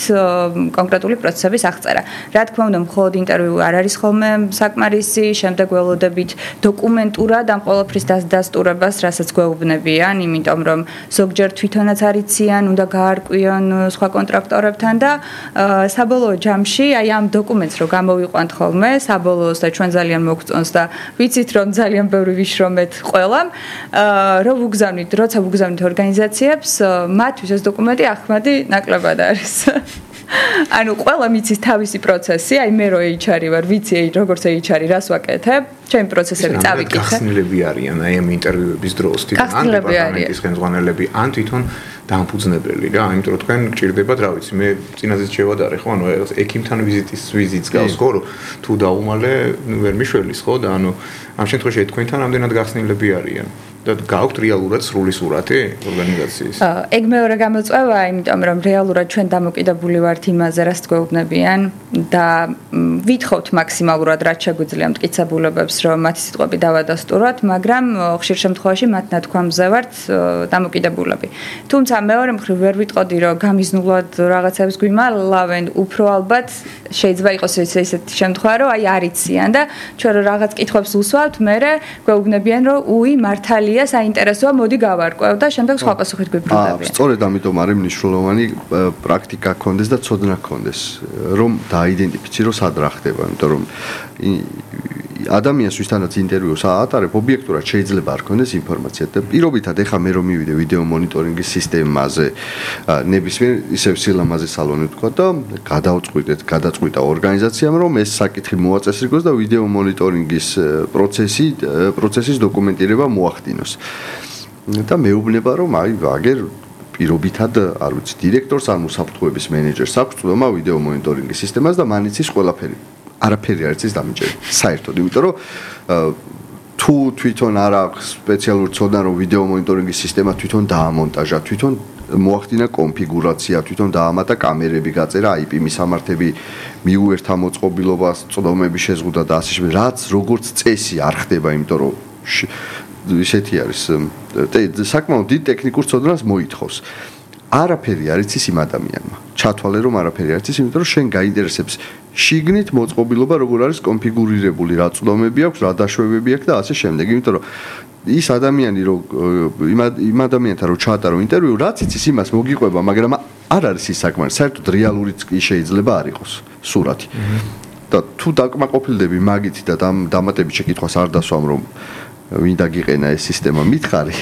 კონკრეტული პროცესების აღწერა. რა თქმა უნდა, მხოლოდ ინტერვიუ არ არის ხოლმე საკმარისი, შემდეგ ველოდებით დოკუმენტურად ამ ყველაფრის დასტურებას, რასაც გვეუბნებიან, იმიტომ რომ ზოგჯერ თვითონაც არიციან, უნდა გაარკვიონ სხვა კონტრაქტორებთან და საბოლოო ჯამში აი ამ დოკუმენტს რო გამოვიყვანთ ხოლმე, საბოლოოს და ჩვენ ძალიან მოგწონს და ვიცით რომ ძალიან ბევრი ვიშრომეთ ყველამ, რომ ვუგზავნით, როცა ვუგზავნით ორგანიზაციებს, მათთვის ეს დოკუმენტი ახმადი ნაკლებად არის. ანუ ყველა მიცის თავისი პროცესი, აი მე რო HR-ი ვარ, ვიცი როგორც HR-ი რას ვაკეთებ, ჩემი პროცესები წავიკითხე. გახსნილები არიან აი ამ ინტერვიუების დროს, თვითონ ან დეპარტამენტის ხელმძღვანელები, ან თვითონ დამფუძნებელი რა, იმიტომ რომ თქვენ გჭირდებათ, რა ვიცი, მე წინაზეც შევადარე ხო, ანუ ექიმთან ვიზიტს გავს ხო, რომ თუ დაუმალე ვერ მიშველის ხო და ანუ ამ შემთხვევაში თქვენთან ამდენად გახსნილები არიან. და გაქვთ რეალურად სრული სურათი ორგანიზაციის. ეგ მეორე გამოწვევა, იმიტომ რომ რეალურად ჩვენ დამოკიდებული ვართ იმაზე, რაც გვეუბნებიან და ვითხოვთ მაქსიმალურად რაც შეგვიძლია მტკიცებულებებს, რომ მათი სიტყვები დავადასტუროთ, მაგრამ ხშირ შემთხვევაში მათ ნათქვამზე ვართ დამოკიდებულები. თუმცა მეორე მხრივ ვერ ვიტყოდი, რომ გამიზნულად რაღაცებს გვიმალავენ, უფრო ალბათ შეიძლება იყოს ესეთი შემთხვევა, რომ აი არიციან და ჩვენ რომ რაღაც კითხვებს უსვავთ, მერე გვეუბნებიან, რომ უი მართალი საინტერესოა, მოდი გავარკვევ და შემდეგ სხვა პასუხით გვიბრუნდებიან. სწორედ ამიტომ არის მნიშვნელოვანი პრაქტიკა გქონდეს და ცოდნა გქონდეს, რომ დააიდენტიფიცირო სად რა ხდება, იმიტომ რომ ადამიანს ვისთანაც ინტერვიუს აატარებ, ობიექტურად შეიძლება არ გქონდეს ინფორმაცია და პირობითად ეხა მე რომ მივიდე ვიდეო მონიტორინგის სისტემაზე, ნებისმიერ ისევ სილამაზე სალონი ვთქვა და გადაწყვიტა ორგანიზაციამ, რომ ეს საკითხი მოაწესრიგოს და ვიდეო მონიტორინგის პროცესის დოკუმენტირება მოახდინოს. და მეუბნება რომ აი აგერ პირობითად არ ვიცი დირექტორს ან უსაფრთხოების მენეჯერს აქვს წვდომა ვიდეო მონიტორინგის სისტემას და მან იცის ყველაფერი. არაფერი არ იცის დამიჯერე. საერთოდ, იმიტომ რომ თუ თვითონ არ აქვს სპეციალური ცოდნა რომ ვიდეო მონიტორინგის სისტემა თვითონ დაამონტაჟა, თვითონ მოახდინა კონფიგურაცია, თვითონ დაამატა კამერები, გაწერა IP მისამართები, მიუერთა მოწყობილობას, წვდომების შეზღუდვა და ასე შემდეგ, რაც როგორც წესი არ ხდება, იმიტომ რომ ისეთი არის საკმაოდ დიდ ტექნიკურ ცოდნას მოითხოვს. არაფერი არ იცის იმ ადამიანმა. ჩათვალე რომ არაფერი არ იცის, იმიტომ რომ შენ გაინტერესებს შიგნით მოწყობილობა როგორ არის კონფიგურირებული, რა წვდომები აქვს, რა დაშვებები აქვს და ასე შემდეგ. იმიტომ რომ ის ადამიანი რომ იმ ადამიანთან რომ ჩაატარო ინტერვიუ, რაც იცის იმას მოგიყვება, მაგრამ არ არის ის საკმარისი. საერთოდ რეალურიც კი შეიძლება არ იყოს სურათი. და თუ დაკმაყოფილდები მაგით და დამატებით შეკითხვას არ დასვამ რომ ვინ დაგიყენა ეს სისტემა მითხარი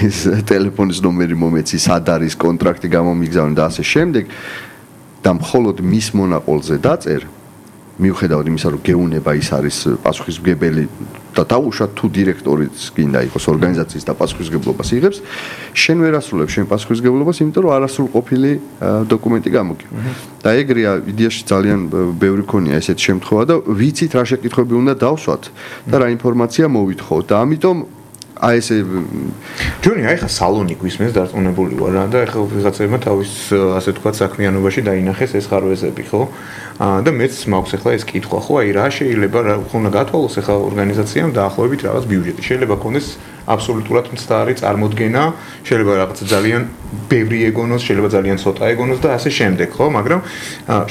ტელეფონის ნომერი მომეცი სად არის კონტრაქტი გამომიგზავნე და ასე შემდეგ და მხოლოდ მის მონაყოლზე დაწერ მიუხედავად იმისა რომ გეუნება ის არის პასუხისმგებელი და დაუშვათ თუ დირექტორიც გინდა იყოს ორგანიზაციის და პასუხისმგებლობას იღებს შენ ვერ ასრულებ შენ პასუხისმგებლობას იმიტომ რომ არასრულყოფილი დოკუმენტი გამოგივა და ეგრეა იდეაში ძალიან ბევრი ქონია ესეთი შემთხვევა და ვიცით რა შეკითხვები უნდა დავსვათ და რა ინფორმაცია მოვითხოვოთ და ამიტომ აი ესე ჯონი აი ხა სალონი გვისმენს დარწმუნებული ვარ რა და ეხლა ვიღაცებმა თავის ასე თქვა საქმიანობაში დაინახეს ეს ხარვეზები ხო და მეც მაქვს ახლა ეს კითხვა ხო აი რა შეიძლება რა უნდა გათვალოს ახლა ორგანიზაციამ დაახლოებით რაღაც ბიუჯეტი შეიძლება ქონდეს აბსოლუტურად მცდარი წარმოდგენა, შეიძლება რაღაც ძალიან ბევრი ეგონოს, შეიძლება ძალიან ცოტა ეგონოს და ასე შემდეგ, ხო, მაგრამ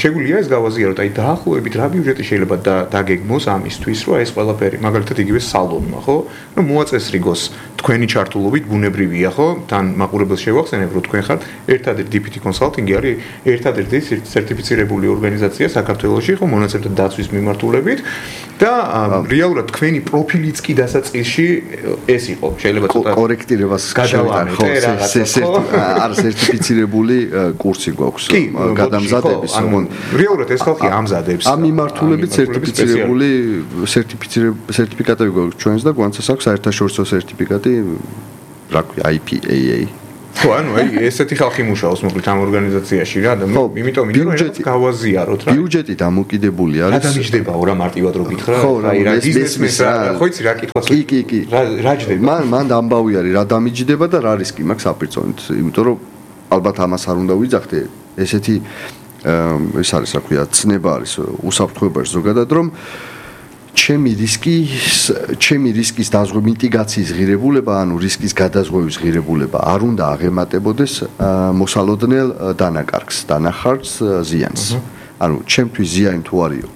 შეგვიძლია ეს გავაზიაროთ, აი დაახლოებით რა ბიუჯეტი შეიძლება დაგეგმოს ამისთვის, რომ ეს ყველაფერი, მაგალითად იგივე სალონმა, ხო? რომ მოაწესრიგოს თქვენი ჩართულობით ბუნებრივია, ხო? თან მაყურებელს შევახსენებ, რომ თქვენ ხართ ერთადერთი DPT კონსალტინგი არის ერთადერთი სერტიფიცირებული ორგანიზაცია საქართველოში, ხო, მონაცემთა დაცვის მიმართულებით და რეალურად თქვენი პროფილიც კი დასაწყისში ეს იყო. შეიძლება ცოტა კორექტირებას გადავამატოთ, ხო? არ სერტიფიცირებული კურსი გვაქვს გადამზადების. რეალურად ეს ხალხი ამზადებს. ამ მიმართულებით სერტიფიცირებული სერტიფიკატები გვაქვს ჩვენს და გვანცას აქვს საერთაშორისო სერტიფიკატი, რა ქვია, IPAA. ხო, ანუ აი ესეთი ხალხი მუშაობს მოკლედ ამ ორგანიზაციაში რა და იმიტომ რომ გავაზიაროთ რა. ბიუჯეტი დამოკიდებული არის. რა დამიჯდებაო რა მარტივად რო გითხრა? აი რა ბიზნესმენს ხო იცი რა კითხვაც. კი. რა ჯდება? მან ამბავი არის რა დამიჯდება და რა რისკი მაქვს საპირწონით. იმიტომ რომ ალბათ ამას არ უნდა ვიძახდე. ესეთი ეს არის რა ქვია, ცნება არის უსაფრთხოებაში ზოგადად რომ ჩემი რისკის დაზღვევა, მიტიგაციის ღირებულება, ანუ რისკის გადაზღვევის ღირებულება არ უნდა აღემატებოდეს მოსალოდნელ დანაკარგს, დანახარჯს, ზიანს. ანუ ჩემთვის ზიანი თუ არის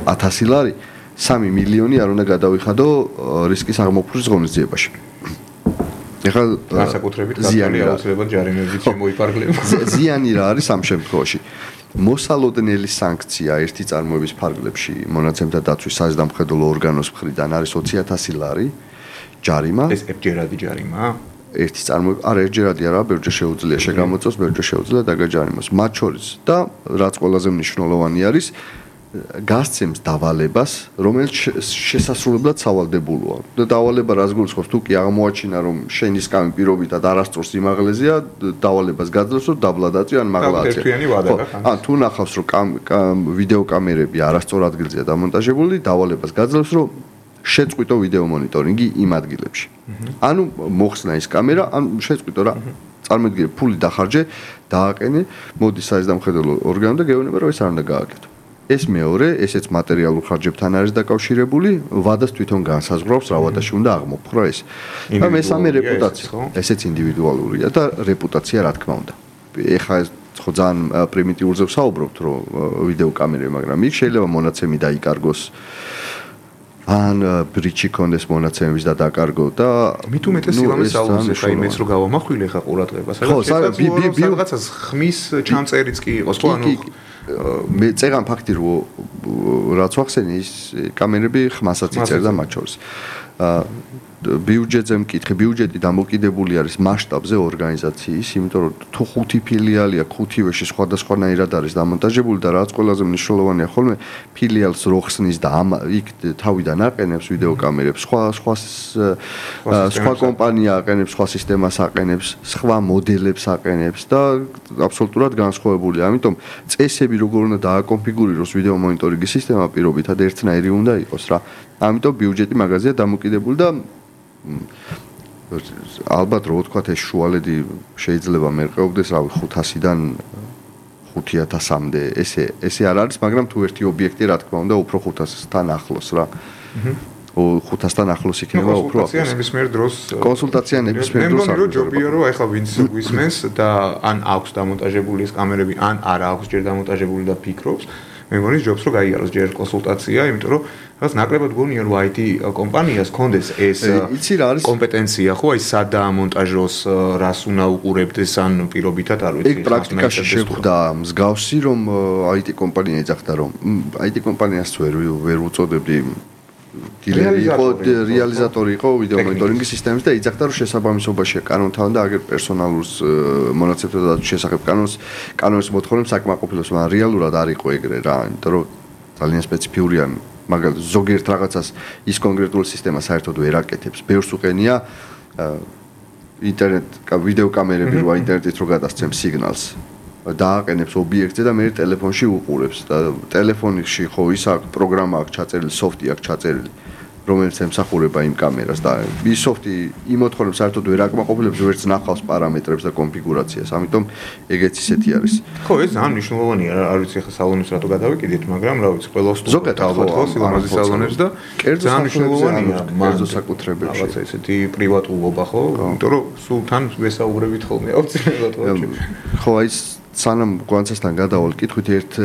1000 ლარი, 3 მილიონი არ უნდა გადავიხადო რისკის აღმოფხვრვის ღონისძიებაში. ეხლა განსაკუთრებით ქართული აუცილებლად ჯარიმებით შემოიფარგლება. ზიანი რა არის ამ შემთხვევაში? მოსალოდნელი სანქცია ერთი წარმოების ფარგლებში მონაცემთა დაცვის საზამხედველო ორგანოს მხრიდან არის 20000 ლარი ჯარიმა. ეს ერთჯერადი ჯარიმაა? ერთი წარმოება, არა ერთჯერადი არა, ბევრჯერ შეუძლია შეგამოწოს, ბევრჯერ შეუძლია დაგაჯარიმოს. მათ შორის და რაც ყველაზე მნიშვნელოვანი არის, გასცემს დავალებას, რომელიც შესასრულებლად სავალდებულოა. და დავალება რას გულისხმობს? თუ კი აღმოაჩინა, რომ შენი სკამი პირობითად არასწორ სიმაღლეზეა, დავალებას გაძლევს, რომ დაბლა დაწვი ან მაღლა აწევ. ან თუ ნახავს, რომ ვიდეო კამერები არასწორ ადგილზეა დამონტაჟებული, დავალებას გაძლევს, რომ შეწყვიტო ვიდეო მონიტორინგი იმ ადგილებში. ანუ მოხსნა ის კამერა, ან შეწყვიტო რა. წარმოიდგინე, ფული დახარჯე, დააყენე, მოდი საზამხედველო ორგანო და გეუბნება, რომ ეს არ უნდა გააკეთო. ეს მეორე, ესეც მატერიალურ ხარჯებთან არის დაკავშირებული, ვადას თვითონ განსაზღვრავს, რა ვადაში უნდა აღმოფხვრა ეს. და მესამე რეპუტაცია, ესეც ინდივიდუალურია და რეპუტაცია რა თქმა უნდა. ეხლა ხო ძალიან პრიმიტიულზე ვსაუბრობთ, რომ ვიდეო კამერები, მაგრამ იქ შეიძლება მონაცემი დაიკარგოს. ან ბრიჩი კონდეს მონაცემების და დაკარგო და მით უმეტეს სილამეს აუზზე ხა იმეც რო გავამახვილე ხა ყურადღებას. რაღაცას ხმის ჩამწერიც კი იყოს, ხო ანუ მე წერან ფაქტი რომ რაც ვახსენე ის კამერები ხმასაც იწერდა მათ შორის. ბიუჯეტზე მკითხე, ბიუჯეტი დამოკიდებული არის მასშტაბზე ორგანიზაციის, იმიტომ რომ თუ 5 ფილიალია, 5-ვეში სხვადასხვანაირად არის დამონტაჟებული და რაც ყველაზე მნიშვნელოვანია ხოლმე ფილიალს რო ხსნის და იქ თავიდან აყენებს ვიდეო კამერებს, სხვა კომპანია აყენებს, სხვა სისტემას აყენებს, სხვა მოდელებს აყენებს და აბსოლუტურად განსხვავებულია. ამიტომ წესები როგორ უნდა დააკონფიგურიროს ვიდეო მონიტორინგის სისტემა პირობითად ერთნაირი უნდა იყოს რა. ამიტომ ბიუჯეტი მაგაზია დამოკიდებული და ალბათ რო ვთქვათ ეს შუალედი შეიძლება მერყეობდეს რავი 500-დან 5000-მდე ესე არ არის, მაგრამ თუ ერთი ობიექტი რა თქმა უნდა უფრო 500-თან ახლოს რა. 500-თან ახლოს იქნება უფრო ახლოს. ნებისმიერ დროს კონსულტაცია ნებისმიერ დროს არის. მე მგონი რომ ჯობია რომ ახლა ვინც გვისმენს და ან აქვს დამონტაჟებული ეს კამერები, ან არა აქვს ჯერ დამონტაჟებული და ფიქრობს, მე მგონი ჯობს რომ გაიაროს ჯერ კონსულტაცია, იმიტომ რომ რაღაც ნაკლებად გონია რომ IT კომპანიას კონდეს ეს კომპეტენცია, ხო, აი სად დაამონტაჟოს, რას უნდა უყურებდეს ან პირობითად არ ვიცი. ეგ პრაქტიკაში შეხვდა მსგავსი რომ IT კომპანია ეძახდა რომ IT კომპანიას ვერ უწოდებდი რეალიზატორი იყო ვიდეო მონიტორინგის სისტემის და იძახდა რომ შესაბამისობაშია კანონთან და აგერ პერსონალურს მონაცემთა დაცვის შესახებ კანონის მოთხოვნებს საკმაყოფილოს, მაგრამ რეალურად არ იყო ეგრე რა, იმიტომ რომ ძალიან სპეციფიურია, მაგალითად ზოგიერთ რაღაცას ის კონკრეტული სისტემა საერთოდ ვერ აკეთებს. ბევრს უყენია ინტერნეტ ვიდეო კამერები რო ინტერნეტით რო გადასცემს სიგნალს. დააყენებს ობიექტზე და მე ტელეფონში უყურებს და ტელეფონში ხო ის აქვს პროგრამა აქვს ჩაწერილი, სოფტი აქვს ჩაწერილი. რომელიც ემსახურება იმ კამერას და ის სოფტი იმ მოთხოვნებს საერთოდ ვერ აკმაყოფილებს ვერც ნახავს პარამეტრებს და კონფიგურაციას. ამიტომ ეგეც ისეთი არის. ხო, ეს ძალიან მნიშვნელოვანია, არ ვიცი ახლა სალონებს რატო გადავიკიდეთ, მაგრამ რა ვიცი, ყველა ზოგადად ალბათ ხო სილამაზის სალონებს და ძალიან მნიშვნელოვანია კერძო საკუთრებებში. რაღაცა ესეთი პრივატულობა ხო? იმიტომ რომ სულ თან ვესაუბრებით ხოლმე აუცილებლად ხო, აი სანამ გვანცასთან გადავალ კითხვით ერთ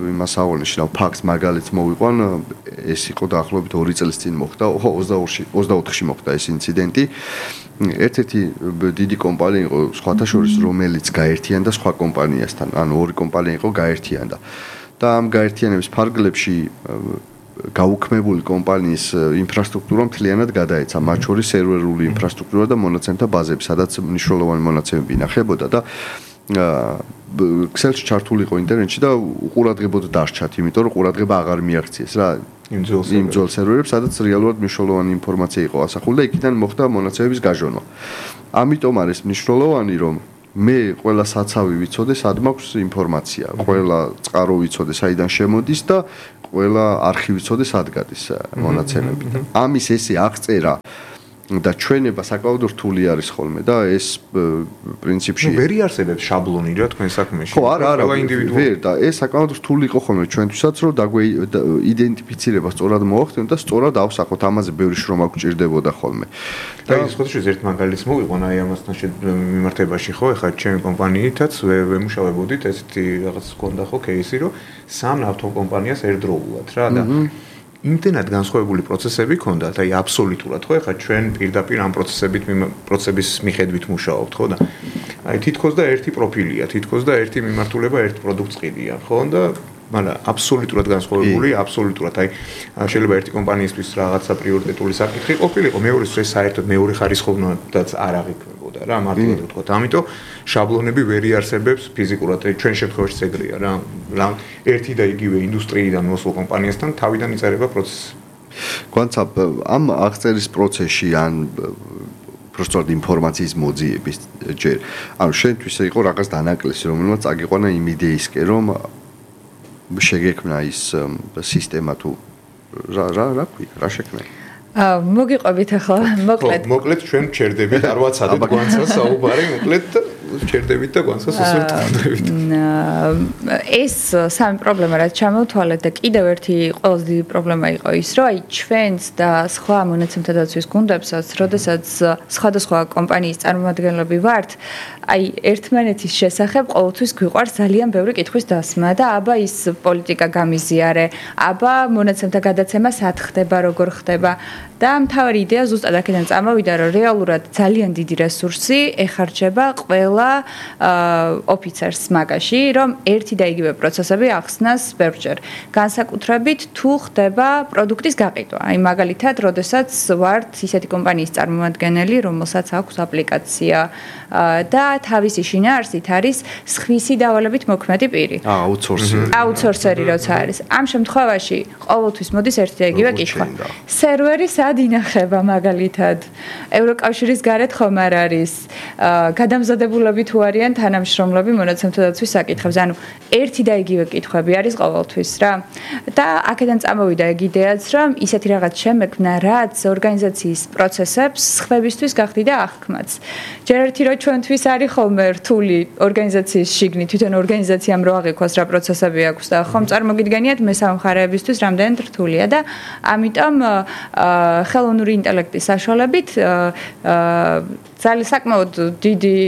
იმას აღნიშნავ ფაქტს მაგალითს მოვიყვან ეს იყო დაახლოებით 2 წლის წინ მოხდა 24-ში მოხდა ეს ინციდენტი ერთ-ერთი დიდი კომპანია იყო სხვათა შორის რომელიც გაერთიანდა სხვა კომპანიასთან ანუ ორი კომპანია იყო გაერთიანდა და ამ გაერთიანების ფარგლებში გაუქმებული კომპანიის ინფრასტრუქტურა მთლიანად გადაეცა მათ შორის სერვერული ინფრასტრუქტურა და მონაცემთა ბაზები სადაც მნიშვნელოვანი მონაცემები ინახებოდა და ქსელში ჩართული იყო ინტერნეტში და უყურადღებოდ დარჩათ, იმიტომ რომ ყურადღება აღარ მიაღწიეს რა იმ ძველ სერვერებს, სადაც რეალურად მნიშვნელოვანი ინფორმაცია იყო ასახული და იქიდან მოხდა მონაცემების გაჟონვა. ამიტომ არის მნიშვნელოვანი, რომ მე ყველა საცავი ვიცოდე, სად მაქვს ინფორმაცია, ყველა წყარო ვიცოდე, საიდან შემოდის და ყველა არქივი ვიცოდე, სად გადის მონაცემები. ამის ესე აღწერა და ჩვენება საკმაოდ რთული არის ხოლმე და ეს პრინციპში ვერ იარსებებს შაბლონი რა თქვენ საქმეში. ხო, არა, ვერ და ეს საკმაოდ რთული იყო ხოლმე ჩვენთვისაც რომ იდენტიფიცირება სწორად მოახდინოთ და სწორად ავსახოთ ამაზე ბევრი შრომა გვჭირდებოდა ხოლმე. და ის ხო შეიძლება ერთ მაგალითს მოვიყვან აი ამასთან მიმართებაში ხო, ეხლა ჩემი კომპანიითაც ვემუშავებოდით ესეთი რაღაც გქონდა ხო кейსი რომ სამ ავტოკომპანიას ერთდროულად რა და იმდენად განსხვავებული პროცესები ქონდათ, აი აბსოლუტურად ხო, ეხლა ჩვენ პირდაპირ ამ პროცესების მიხედვით მუშაობთ, ხო და აი თითქოს და ერთი პროფილია, თითქოს და ერთი მიმართულება, ერთ პროდუქტს ყიდიან, ხო და მაგრამ აბსოლუტურად განსხვავებული, აბსოლუტურად აი შეიძლება ერთი კომპანიისთვის რაღაცა პრიორიტეტული საკითხი ყოფილიყო, მეორეს ეს საერთოდ მეორე ხარისხოვნადაც არ აღიქმებოდა რა, მარტივად ვთქვათ. ამიტომ შაბლონები ვერ იარსებებს ფიზიკურად, ჩვენ შემთხვევაში ეგრეა რა, ერთი და იგივე ინდუსტრიიდან მოსულ კომპანიასთან თავიდან იწერება პროცესი. გვანცა ამ აღწერის პროცესში ან просто ინფორმაციის მოძიების ჯერ. ანუ შენთვის იყო რაღაც დანაკლისი, რომელმაც წაგიყვანა იმ იდეისკენ, რომ შეგექმნა ის სისტემა თუ რა ქვია, რა შექმნა? მოგიყვებით ახლა, მოკლედ ჩვენ ჩერდებით, არ ვაცადეთ გვანცას საუბარი, მოკლედ ჩერდებით და გვანცას უსურთმებით. ეს სამი პრობლემა რაც ჩამოვთვალეთ და კიდევ ერთი ყველაზე დიდი პრობლემა იყო ის, რომ აი ჩვენს და სხვა მონაცემთა დაცვის გუნდებსაც, როდესაც სხვადასხვა კომპანიის წარმომადგენლები ვართ, აი ერთმანეთის შესახებ ყოველთვის გვიყვარს ძალიან ბევრი კითხვის დასმა და აბა ის პოლიტიკა გამიზიარე, აბა მონაცემთა გადაცემა სად ხდება, როგორ ხდება და მთავარი იდეა ზუსტად აქედან წამოვიდა, რომ რეალურად ძალიან დიდი რესურსი ეხარჯება ყველა ოფიცერს მაგაში, რომ ერთი და იგივე პროცესები ახსნას ბევრჯერ. განსაკუთრებით თუ ხდება პროდუქტის გაყიდვა. აი მაგალითად, როდესაც ვართ ისეთი კომპანიის წარმომადგენელი, რომელსაც აქვს აპლიკაცია და თავისი შინაარსით არის სხვისი დავალებით მოქმედი პირი. აუთსორსერი როცა არის. ამ შემთხვევაში ყოველთვის მოდის ერთი და იგივე კითხვა. სერვერი სად ინახება მაგალითად? ევროკავშირის გარეთ ხომ არ არის? გადამზადებულები თუ არიან თანამშრომლები მონაცემთა დაცვის საკითხებზე. ანუ ერთი და იგივე კითხვები არის ყოველთვის რა. და აქედან წამოვიდა ეგ იდეაც, რომ ისეთი რაღაც შემექმნა, რაც ორგანიზაციის პროცესებს სხვებისთვის გახდიდა აღქმაც. ჯერ ერთი რომ ჩვენთვის არის ხოლმე რთული ორგანიზაციის შიგნით, თვითონ ორგანიზაციამ რო აღიქვას რა პროცესები აქვს და ხომ წარმოგიდგენიათ მესამე მხარეებისთვის რამდენად რთულია და ამიტომ ხელოვნური ინტელექტის საშუალებით ძალიან საკმაოდ დიდი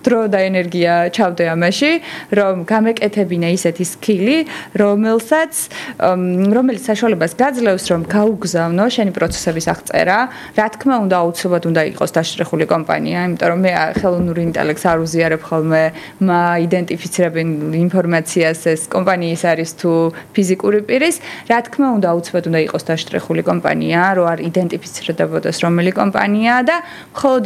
დრო და ენერგია ჩავდე ამაში, რომ გამეკეთებინა ისეთი სკილი, რომელიც საშუალებას გაძლევს, რომ გაუგზავნო შენი პროცესების აღწერა. რა თქმა უნდა, აუცილებლად უნდა იყოს დაშრეხული კომპანია, იმიტომ რომ მე ხელოვნური ინტელექტს არ უზიარებ ხოლმე, იდენტიფიცირებენ ინფორმაციას ეს კომპანიის არის თუ ფიზიკური პირის. რა თქმა უნდა, აუცილებლად უნდა იყოს დაშრეხული კომპანია, რომ არ იდენტიფიცირდებოდეს რომელი კომპანიაა და მხოლოდ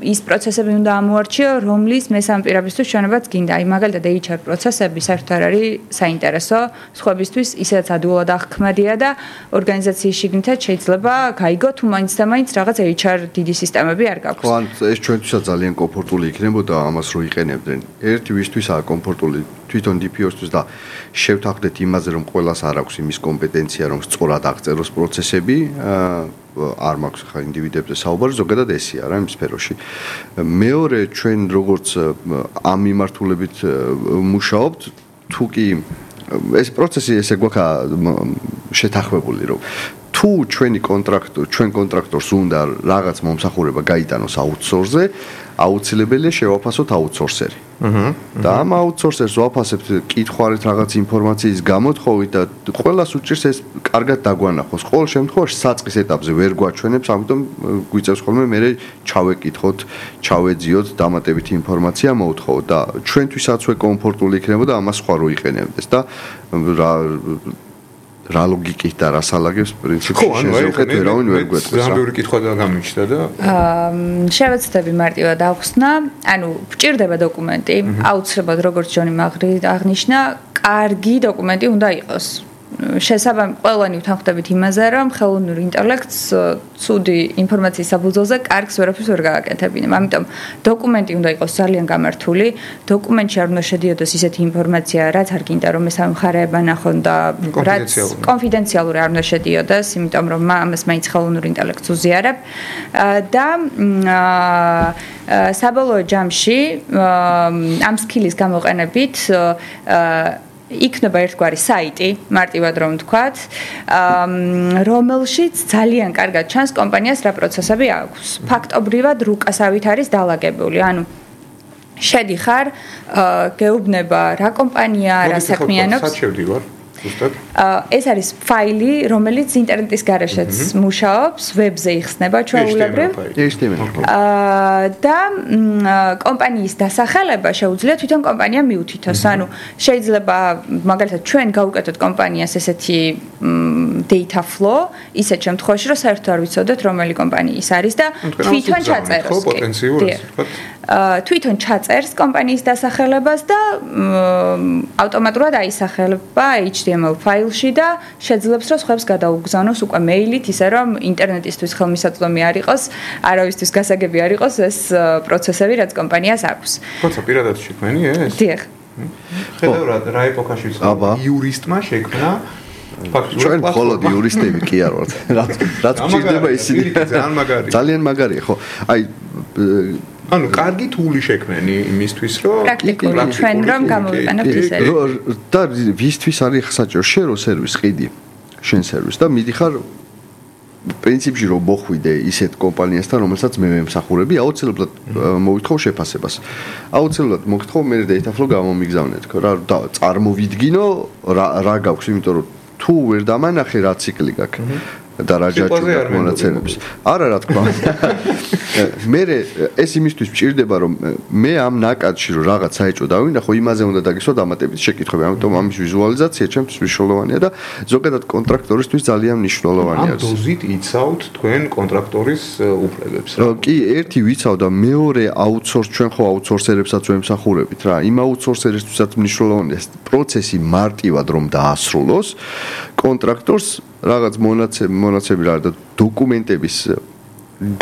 ის პროცესები უნდა ამოარჩიო, რომლის მესამე პირებისთვის ჩვენებაც გინდა. აი მაგალითად HR პროცესები საერთოდ არ არის საინტერესო, სხვებისთვის ისედაც ადვილად აღქმადია და ორგანიზაციის შიგნითაც შეიძლება გაიგო თუ მაინც და მაინც რაღაც HR დიდი სისტემები არ გაქვს. ხო, ეს ჩვენთვისაც ძალიან კომფორტული იქნებოდა ამას რო იყენებდნენ. ერთი ვისთვისაა კომფორტული თვითონ DPO-ისთვის და შევთანხმდეთ იმაზე, რომ ყველას არ აქვს იმის კომპეტენცია, რომ სწორად აღწეროს პროცესები, არ მაქვს ხა ინდივიდებზე საუბარი, ზოგადად ესია რა იმ სფეროში. მეორე ჩვენ როგორც ამ მიმართულებით მუშაობთ, თუ კი ეს პროცესი ესე გვაქვს შეთანხმებული, რომ თუ ჩვენ კონტრაქტორს უნდა რაღაც მომსახურება გაიტანოს აუთსორსზე, აუცილებელია შევაფასოთ აუთსორსერი. და ამ აუთსორსერს ვაფასებთ კითხვარით რაღაც ინფორმაციის გამოთხოვით და ყველას უჭირს ეს კარგად დაგვანახოს. ყოველ შემთხვევაში საწყის ეტაპზე ვერ გვაჩვენებს, ამიტომ გვიწევს ხოლმე მე ჩავეკითხოთ, ჩავეძიოთ, დამატებითი ინფორმაცია მოვთხოვოთ და ჩვენთვისაც კომფორტული იქნებოდა ამას სხვა რო იყენებდეს და რა ლოგიკით და რა სალაგებს პრინციპში შეუხეთ ვერავინ ვერ გვეტყვის. ზამბიური კითხვა და გამიჩნდა და შევეცდები მარტივად ახსნა, ანუ გვჭირდება დოკუმენტი, აუცილებლად როგორც ჯონი აღნიშნა, კარგი დოკუმენტი უნდა იყოს. ყველანი ვთანხმდებით იმაზე, რომ ხელოვნური ინტელექტს ცუდი ინფორმაციის საფუძველზე კარგს ვერაფერს ვერ გააკეთებინა. ამიტომ დოკუმენტი უნდა იყოს ძალიან გამართული, დოკუმენტში არ უნდა შედიოდეს ისეთი ინფორმაცია, რაც არ გინდა რომ მესამე მხარეებმა ნახონ და რაც კონფიდენციალური არ უნდა შედიოდეს, იმიტომ რომ ამას მაინც ხელოვნური ინტელექტს უზიარებ და საბოლოო ჯამში ამ სკილის გამოყენებით იქნება ერთგვარი საიტი, მარტივად რომ ვთქვათ, რომელშიც ძალიან კარგად ჩანს კომპანიას რა პროცესები აქვს. ფაქტობრივად რუკასავით არის დალაგებული. ანუ შედიხარ, გეუბნება რა კომპანია, რა საქმიანობს. სად შევდივარ? ეს არის ფაილი, რომელიც ინტერნეტის გარეშეც მუშაობს, ვებზე იხსნება ჩვეულებრივ. და კომპანიის დასახელება შეუძლია თვითონ კომპანია მიუთითოს. ანუ შეიძლება მაგალითად ჩვენ გავუკეთოთ კომპანიას ესეთი data flow, ისეთ შემთხვევაში, რომ საერთოდ არ ვიცოდეთ რომელი კომპანიის არის და თვითონ ჩაწეროს. თვითონ ჩაწერს კომპანიის დასახელებას და ავტომატურად აისახება HTML ფაილში და შეძლებს რომ სხვებს გადაუგზავნოს უკვე მეილით, ისე რომ ინტერნეტისთვის ხელმისაწვდომი არ იყოს, არავისთვის გასაგები არ იყოს ეს პროცესები, რაც კომპანიას აქვს. როცა პირადად შექმენი ეს? დიახ. ხედავ რა ეპოქაში იურისტმა შექმნა ჩვენ მხოლოდ იურისტები კი არ ვართ. რაც გვჭირდება ისინი. ძალიან მაგარია, ხო? აი ანუ კარგი თული შექმენი იმისთვის რომ პრაქტიკული ჩვენ რომ გამოვიყენებთ ისე. და ვისთვის არის საჭირო შერო სერვის ყიდი, შენ სერვის და მიდიხარ პრინციპში რომ მოხვიდე ისეთ კომპანიასთან, რომელსაც მე ვემსახურები, აუცილებლად მოვითხოვ შეფასებას. აუცილებლად მოგთხოვ მე data flow გამომიგზავნეთ, რა წარმოვიდგინო რა გაქვს, იმიტომ რომ თუ ვერ დამანახე რა ციკლი გაქვს და რა ჯაჭვია მონაცემების. არა რა თქმა უნდა. მე ეს იმისთვის მჭირდება რომ მე ამ ნაკადში რომ რაღაც საეჭვო დავინახო, იმაზე უნდა დაგისვა დამატებითი შეკითხვები. ამიტომ ამის ვიზუალიზაცია ჩემთვის მნიშვნელოვანია და ზოგადად კონტრაქტორისთვის ძალიან მნიშვნელოვანია. ამ დოზით იცავთ თქვენ კონტრაქტორის უფლებებს რა? კი, ერთი ვიცავ და მეორე აუთსორს ჩვენ ხო აუთსორსერებსაც ვემსახურებით რა. იმ აუთსორსერისთვისაც მნიშვნელოვანია პროცესი მარტივად რომ დაასრულოს, კონტრაქტორს რაღაც მონაცემები რა და დოკუმენტების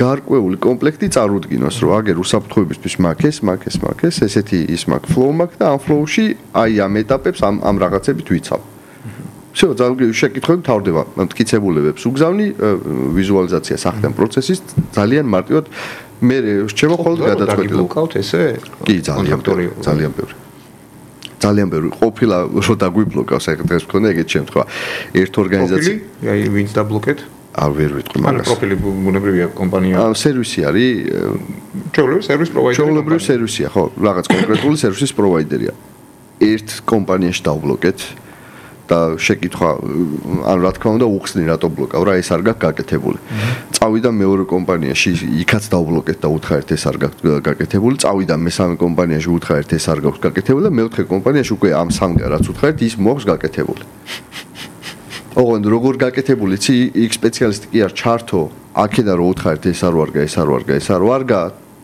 გარკვეული კომპლექტი წარუდგინოს, რომ აგერ უსაფრთხოებისთვის მაქეს, ესეთი ის მაქ flow მაქ და ამ flow-ში აი ამ ეტაპებს ამ რაღაცებით ვიცავ. всё, ძალიან შეკითხვები თავდება, მტკიცებულებებს უგზავნი, ვიზუალიზაციას ახდენ პროცესის ძალიან მარტივად მე რჩება ხოლმე გადაწყვეტილება. გიყავთ ესე? კი, ძალიან ბევრი. ძალიან ბევრი ყოფილა რომ დაგვიბლოკავს ეგ დღეს მქონდა ეგეთ შემთხვევა. ერთ ორგანიზაცია აი ვინც დაბლოკეთ? არ ვერ ვიტყვი მაგას. ანუ პროფილი ბუნებრივია კომპანია. სერვისი არის ჩვეულებრივი სერვის პროვაიდერი. ჩვეულებრივი სერვისია, ხო, რაღაც კონკრეტული სერვისის პროვაიდერია. ერთ კომპანიაში დავბლოკეთ და შეკითხვა, ანუ რა თქმა უნდა უხსნი რატო ბლოკავ რა, ეს არ გაქვს გაკეთებული. წავიდა მეორე კომპანიაში, იქაც დავბლოკეთ და უთხრეთ ეს არ გაქვს გაკეთებული. წავიდა მესამე კომპანიაში, უთხრეთ ეს არ გაქვს გაკეთებული და მეოთხე კომპანიაში უკვე ამ სამგან რაც უთხრეთ ის მოაქვს გაკეთებული. ოღონდ როგორ გაკეთებული, იცი, იქ სპეციალისტი კი არ ჩართო, აქედან რო უთხრეთ ეს არ ვარგა,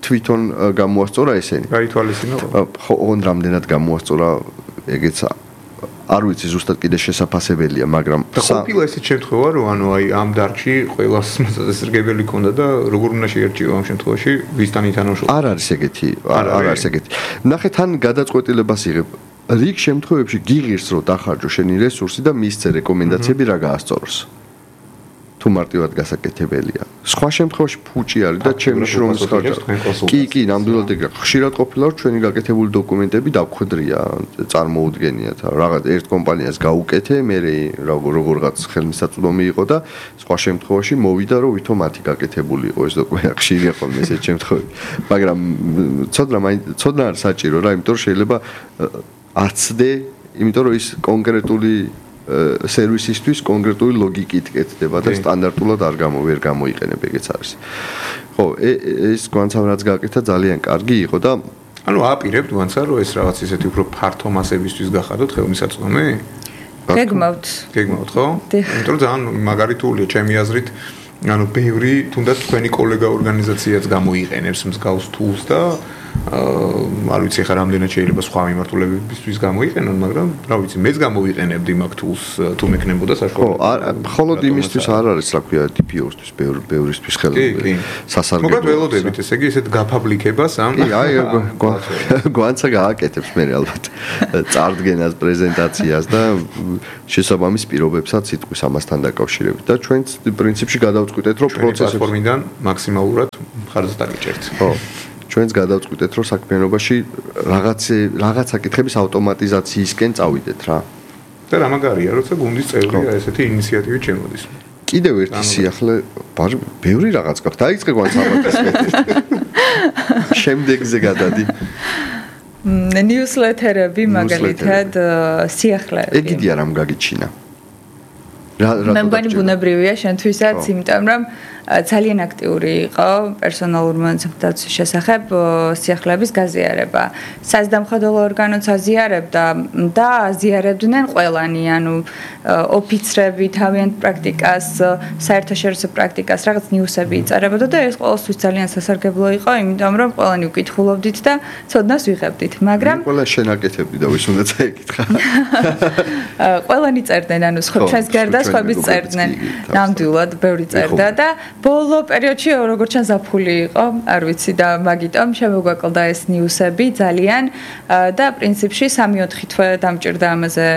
თვითონ გამოასწორა ესენი. გაითვალისწინო? ხო, ოღონდ რამდენად გამოასწორა ეგეც არ ვიცი ზუსტად კიდე შესაძლებელია, მაგრამ ყოფილა ესეთ შემთხვევა, რომ ანუ აი ამ დარგში ყველას მასწავლებელი ქონდა და როგორ უნდა შეერჩიო ამ შემთხვევაში ვისთან ითანამშრომლობა? არ არის ეგეთი. ნახეთ, თან გადაწყვეტილებას იღებ. რიგ შემთხვევებში გიღირს რომ დახარჯო შენი რესურსი და მისცე რეკომენდაციები რა გაასწოროს. თუ მარტივად გასაკეთებელია. სხვა შემთხვევაში ფუჭი არის და ჩემი შრომის ხარჯი. კი, ნამდვილად ეგრე. ხშირად ყოფილა რომ ჩვენი გაკეთებული დოკუმენტები დავხვედრია, წარმოუდგენიათ. რაღაც ერთ კომპანიას გაუკეთე, მე როგორღაც ხელმისაწვდომი იყო და სხვა შემთხვევაში მოვიდა რომ ვითომ მათი გაკეთებული იყო ეს დოკუმენტი. ხშირია ხოლმე ესეთ შემთხვევები. მაგრამ ცოდნა არ საჭირო რა, იმიტომ რომ შეიძლება არცდე, იმიტომ რომ ის კონკრეტული სერვისისთვის კონკრეტული ლოგიკით კეთდება და სტანდარტულად ვერ გამოიყენებ ეგეც არის. ხო, ეს გვანცამ რაც გააკეთა ძალიან კარგი იყო და ანუ აპირებთ გვანცა რომ ეს რაღაც ისეთი უფრო ფართო მასებისთვის გახადოთ ხელმისაწვდომი? გეგმავთ, ხო? იმიტომ რომ ძალიან მაგარი თულია ჩემი აზრით. ანუ ბევრი თუნდაც თქვენი კოლეგა ორგანიზაციაც გამოიყენებს მსგავს tools და არ ვიცი ხა რამდენად შეიძლება სხვა მიმართულებებისთვის გამოიყენონ, მაგრამ რა ვიცი, მეც გამოვიყენებდი მაგ tools თუ მექნებოდა საშუალება. ხო, ხოლოდ იმისთვის არ არის, რა ქვია, DPO-ისთვის, ბევრისთვის ხელოვნური სასარგებლო. მოკლედ ველოდებით, ესე იგი, ესეთ გაფაბლიკებას ამ. კი, აი, გვანცა გააკეთებს მე ალბათ წარდგენას, პრეზენტაციას და შესაბამის პირობებსაც სიტყვის ამასთან დაკავშირებით და ჩვენც პრინციპში გადავწყვიტეთ, რომ პროცესს პლატფორმიდან მაქსიმალურად ხარჯს დაგიჭერთ. ხო. ჩვენც გადავწყვიტეთ, რომ საქმიანობაში რაღაც საკითხების ავტომატიზაციისკენ წავიდეთ რა. და რა მაგარია, როცა გუნდის წევრია ესეთი ინიციატივი ჩემოდის. კიდევ ერთი სიახლე, ბევრი რაღაც გაქვს. დაიწყე გვანც ალბათ მეტი. შემდეგზე გადადი. ნიუსლეთერები მაგალითად სიახლეები. ეგიდია რამ გაგიჩინა. მე მგონი ბუნებრივია შენთვისაც, იმიტომ რომ ძალიან აქტიური იყო პერსონალურ მონაცემების შესახებ სიახლეების გაზიარება. საზდამხედველო ორგანოც აზიარებდა და აზიარებდნენ ყველანი, ანუ ოფიცრები თავიანთ პრაქტიკას, საერთაშორისო პრაქტიკას, რაღაც ნიუსები იწერებოდა და ეს ყოველთვის ძალიან სასარგებლო იყო, იმიტომ რომ ყველანი უკითხულობდით და ცოდნას ვიღებდით. მაგრამ ყველა შენაკეთებდი და ვის უნდა წაიკითხა. ყველანი წერდნენ, ანუ ჩვენს გარდა სხვაებიც წერდნენ. ნამდვილად ბევრი წერდა და ბოლო პერიოდში როგორც ჩანს ზაფხული იყო, არ ვიცი და მაგიტომ შემოგვაკლდა ეს ნიუსები ძალიან და პრინციპში 3-4 თვე დამჭირდა ამაზე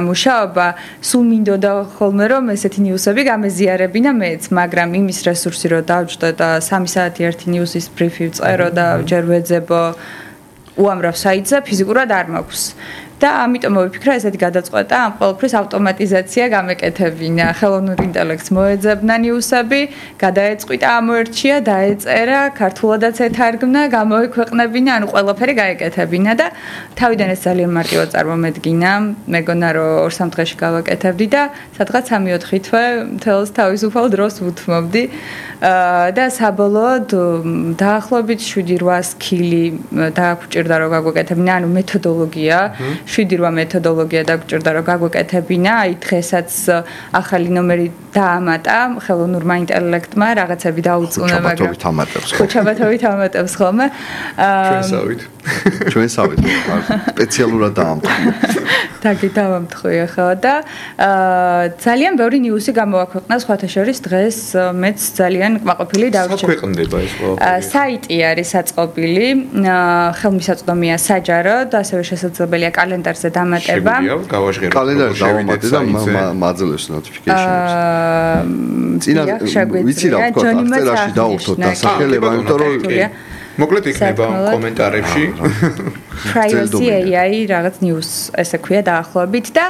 მუშაობა. სულ მინდოდა ხოლმე რომ ესეთი ნიუსები გამეზიარებინა მეც, მაგრამ იმის რესურსი რო დავჭდა და 3 საათი ერთი ნიუსის ბრიფი ვწერო და ჯერ ვეძებო უამრავ საიტზე ფიზიკურად არ მაქვს. და ამიტომ მოვიფიქრა ესეთი გადაწყვეტა, ამ ყველაფრის ავტომატიზაცია გამეკეთებინა. ხელოვნურ ინტელექტს მოეძებნა ნიუსები, გადაეწყვიტა, ამოერჩია, დაეწერა, ქართულადაც ეთარგმნა, გამოექვეყნებინა, ანუ ყველაფერი გაეკეთებინა და თავიდან ეს ძალიან მარტივად წარმომედგინა. მეგონა რომ 2-3 დღეში გავაკეთებდი და სადღაც 3-4 თვე მთელს თავისუფალ დროს ვუთმობდი. და საბოლოოდ დაახლოებით 7-8 კილი დაგვჭირდა რომ გაგვეკეთებინა, ანუ მეთოდოლოგია 7-8 მეთოდოლოგია დაგვჭირდა რომ გაგვეკეთებინა. აი დღესაც ახალი ნომერი დაამატა ხელოვნურმა ინტელექტმა, რაღაცები დაუწუნა, მაგრამ ხოჩაბათობით ამატებს ხოლმე. ჩვენსავით სპეციალურად დაამტყვია. დავამტყვი ხო და ძალიან ბევრი ნიუსი გამოაქვეყნა სხვათა შორის დღეს მეც ძალიან კმაყოფილი დავრჩა. საქვეყნდება ეს ყველაფერი. საიტი არის საწყობილი, ხელმისაწვდომია საჯაროდ, ასევე შესაძლებელია კალენდარზე დამატება. კალენდარზე დავამატე და მაძლევს notification-ებს. ვიცი რა ვთქვა, წერაში დავუშვოთ დასახელება, იმიტომ რომ მოკლედ იქნება კომენტარებში. Privacy AI რაღაც news ესე ქვია დაახლოებით და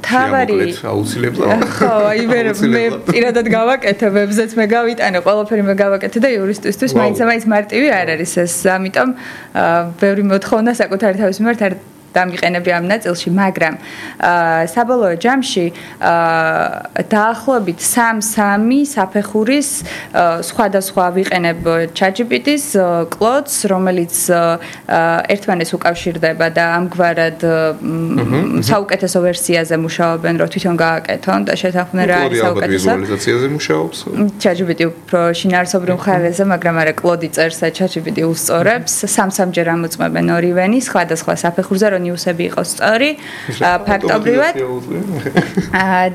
თავარი აუცილებლად. ხო, აი მე პირადად გავაკეთე ვებზეც მე გავიტანე, ყველაფერი მე გავაკეთე და იურისტისთვის მაინც მარტივი არ არის ეს. ამიტომ ბევრი მოთხოვნა საკუთარი თავის მიმართ არ დამიყენები ამ ნაწილში, მაგრამ საბოლოო ჯამში დაახლოებით 3 საფეხურის სხვადასხვა ვიყენებ ChatGPT-ს, Claude-ს, რომელიც ერთმანეთს უკავშირდება და ამგვარად საუკეთესო ვერსიაზე მუშაობენ, რომ თვითონ გააკეთონ და შეთანხმდნენ რა არის საუკეთესო. ვიზუალიზაციაზე მუშაობს? ChatGPT უფრო შინაარსობრივ მხარეზე, მაგრამ არა Claude წერს და ChatGPT უსწორებს. 3-3 ჯერ ამოწმებენ ორივენი სხვადასხვა საფეხურზე, რომ ნიუსები იყოს სწორი, ფაქტობრივად.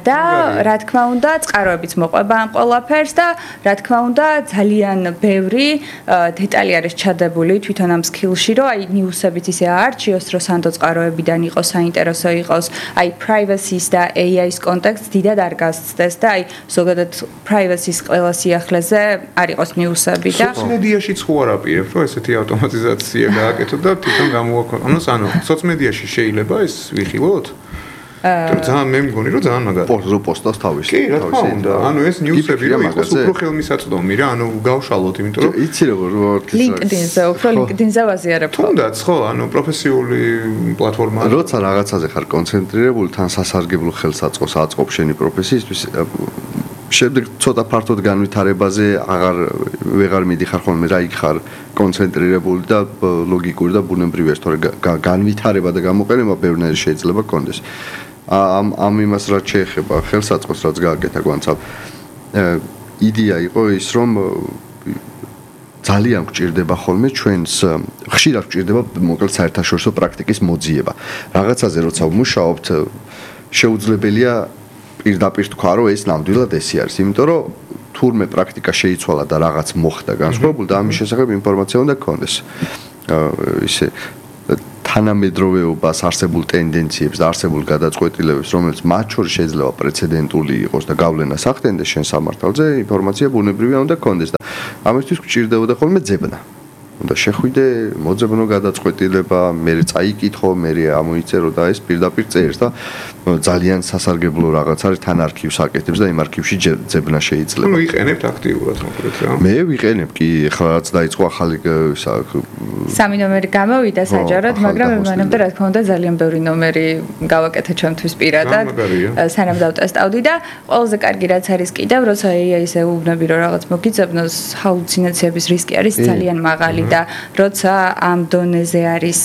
და რა თქმა უნდა, წყაროებიც მოყვება ამ ყველაფერს და რა თქმა უნდა, ძალიან ბევრი დეტალი არის ჩადებული თვითონ ამ სკილში, რომ აი ნიუსებიც ისე აარჩიოს, რომ სანდო წყაროებიდან იყოს საინტერესო იყოს, აი privacy-ს და AI-ის კონტექსტს დიდად არ გასცდეს და აი ზოგადად privacy-ს ყველა სიახლეზე არ იყოს ნიუსები და სოციალმედიაში ხო არ აპირებთ, რომ ესეთი ავტომატიზაცია გააკეთოთ და თვითონ გამოაქვეყნოს, ანუ სოციალმედიაში შეიძლება ეს ვიხილოთ? ძალიან მე მგონი რომ ძალიან მაგარი პოსტავს თავის. კი, რა თქმა უნდა. ანუ ეს ნიუსები რომ იყოს უფრო ხელმისაწვდომი რა, ანუ გავშალოთ, იმიტომ რომ იცი როგორ LinkedIn-ზე, უფრო LinkedIn-ზე ვაზიარებ. თუნდაც ხო, ანუ პროფესიული პლატფორმა. როცა რაღაცაზე ხარ კონცენტრირებული, თან სასარგებლო ხელსაწყოს აწყობს შენი პროფესიისთვის. შემდეგ ცოტა ფართოდ განვითარებაზე ვეღარ მიდიხარ ხოლმე რა იქ ხარ კონცენტრირებული და ლოგიკური და ბუნებრივია, თორე განვითარება და გამოყენება ბევრნაირი შეიძლება გქონდეს. ამ იმას რაც შეეხება ხელსაწყოს რაც გააკეთა გვანცავ იდეა იყო ის რომ ძალიან გჭირდება ხოლმე ჩვენს ხშირად გჭირდება მოკლედ საერთაშორისო პრაქტიკის მოძიება რაღაცაზე როცა ვმუშაობთ შეუძლებელია პირდაპირ თქვა რომ ეს ნამდვილად ესე არის იმიტომ რომ თურმე პრაქტიკა შეიცვალა და რაღაც მოხდა განსხვავებული და ამის შესახებ ინფორმაცია უნდა გქონდეს ისე თანამედროვეობას, არსებულ ტენდენციებს და არსებულ გადაწყვეტილებებს, რომელიც მათ შორის შეიძლება პრეცედენტული იყოს და გავლენას ახდენდეს შენ სამართალზე, ინფორმაცია ბუნებრივია უნდა გქონდეს და ამისთვის გჭირდებოდა ხოლმე ძებნა. უნდა შეხვიდე, მოძებნო გადაწყვეტილება, მე წაიკითხო, მე ამოიწერო და ეს პირდაპირ წერს და ძალიან სასარგებლო რაღაც არის თან არქივს აკეთებს და იმ არქივში ძებნა შეიძლება. ნუ იყენებთ აქტიურად მოკლედ რა. მე ვიყენებ კი, ახლა რაც დაიწყო ახალი სამი ნომერი გამოვიდა საჯაროდ, მაგრამ მანამდე რა თქმა უნდა ძალიან ბევრი ნომერი გავაკეთე ჩემთვის პირადად. სანამ დავტესტავდი და ყველაზე კარგი რაც არის კიდევ, როცა AI-ზე უბნები რომ რაღაც მოგიძებნოს, ჰალუცინაციების რისკი არის ძალიან მაღალი და როცა ამ დონეზე არის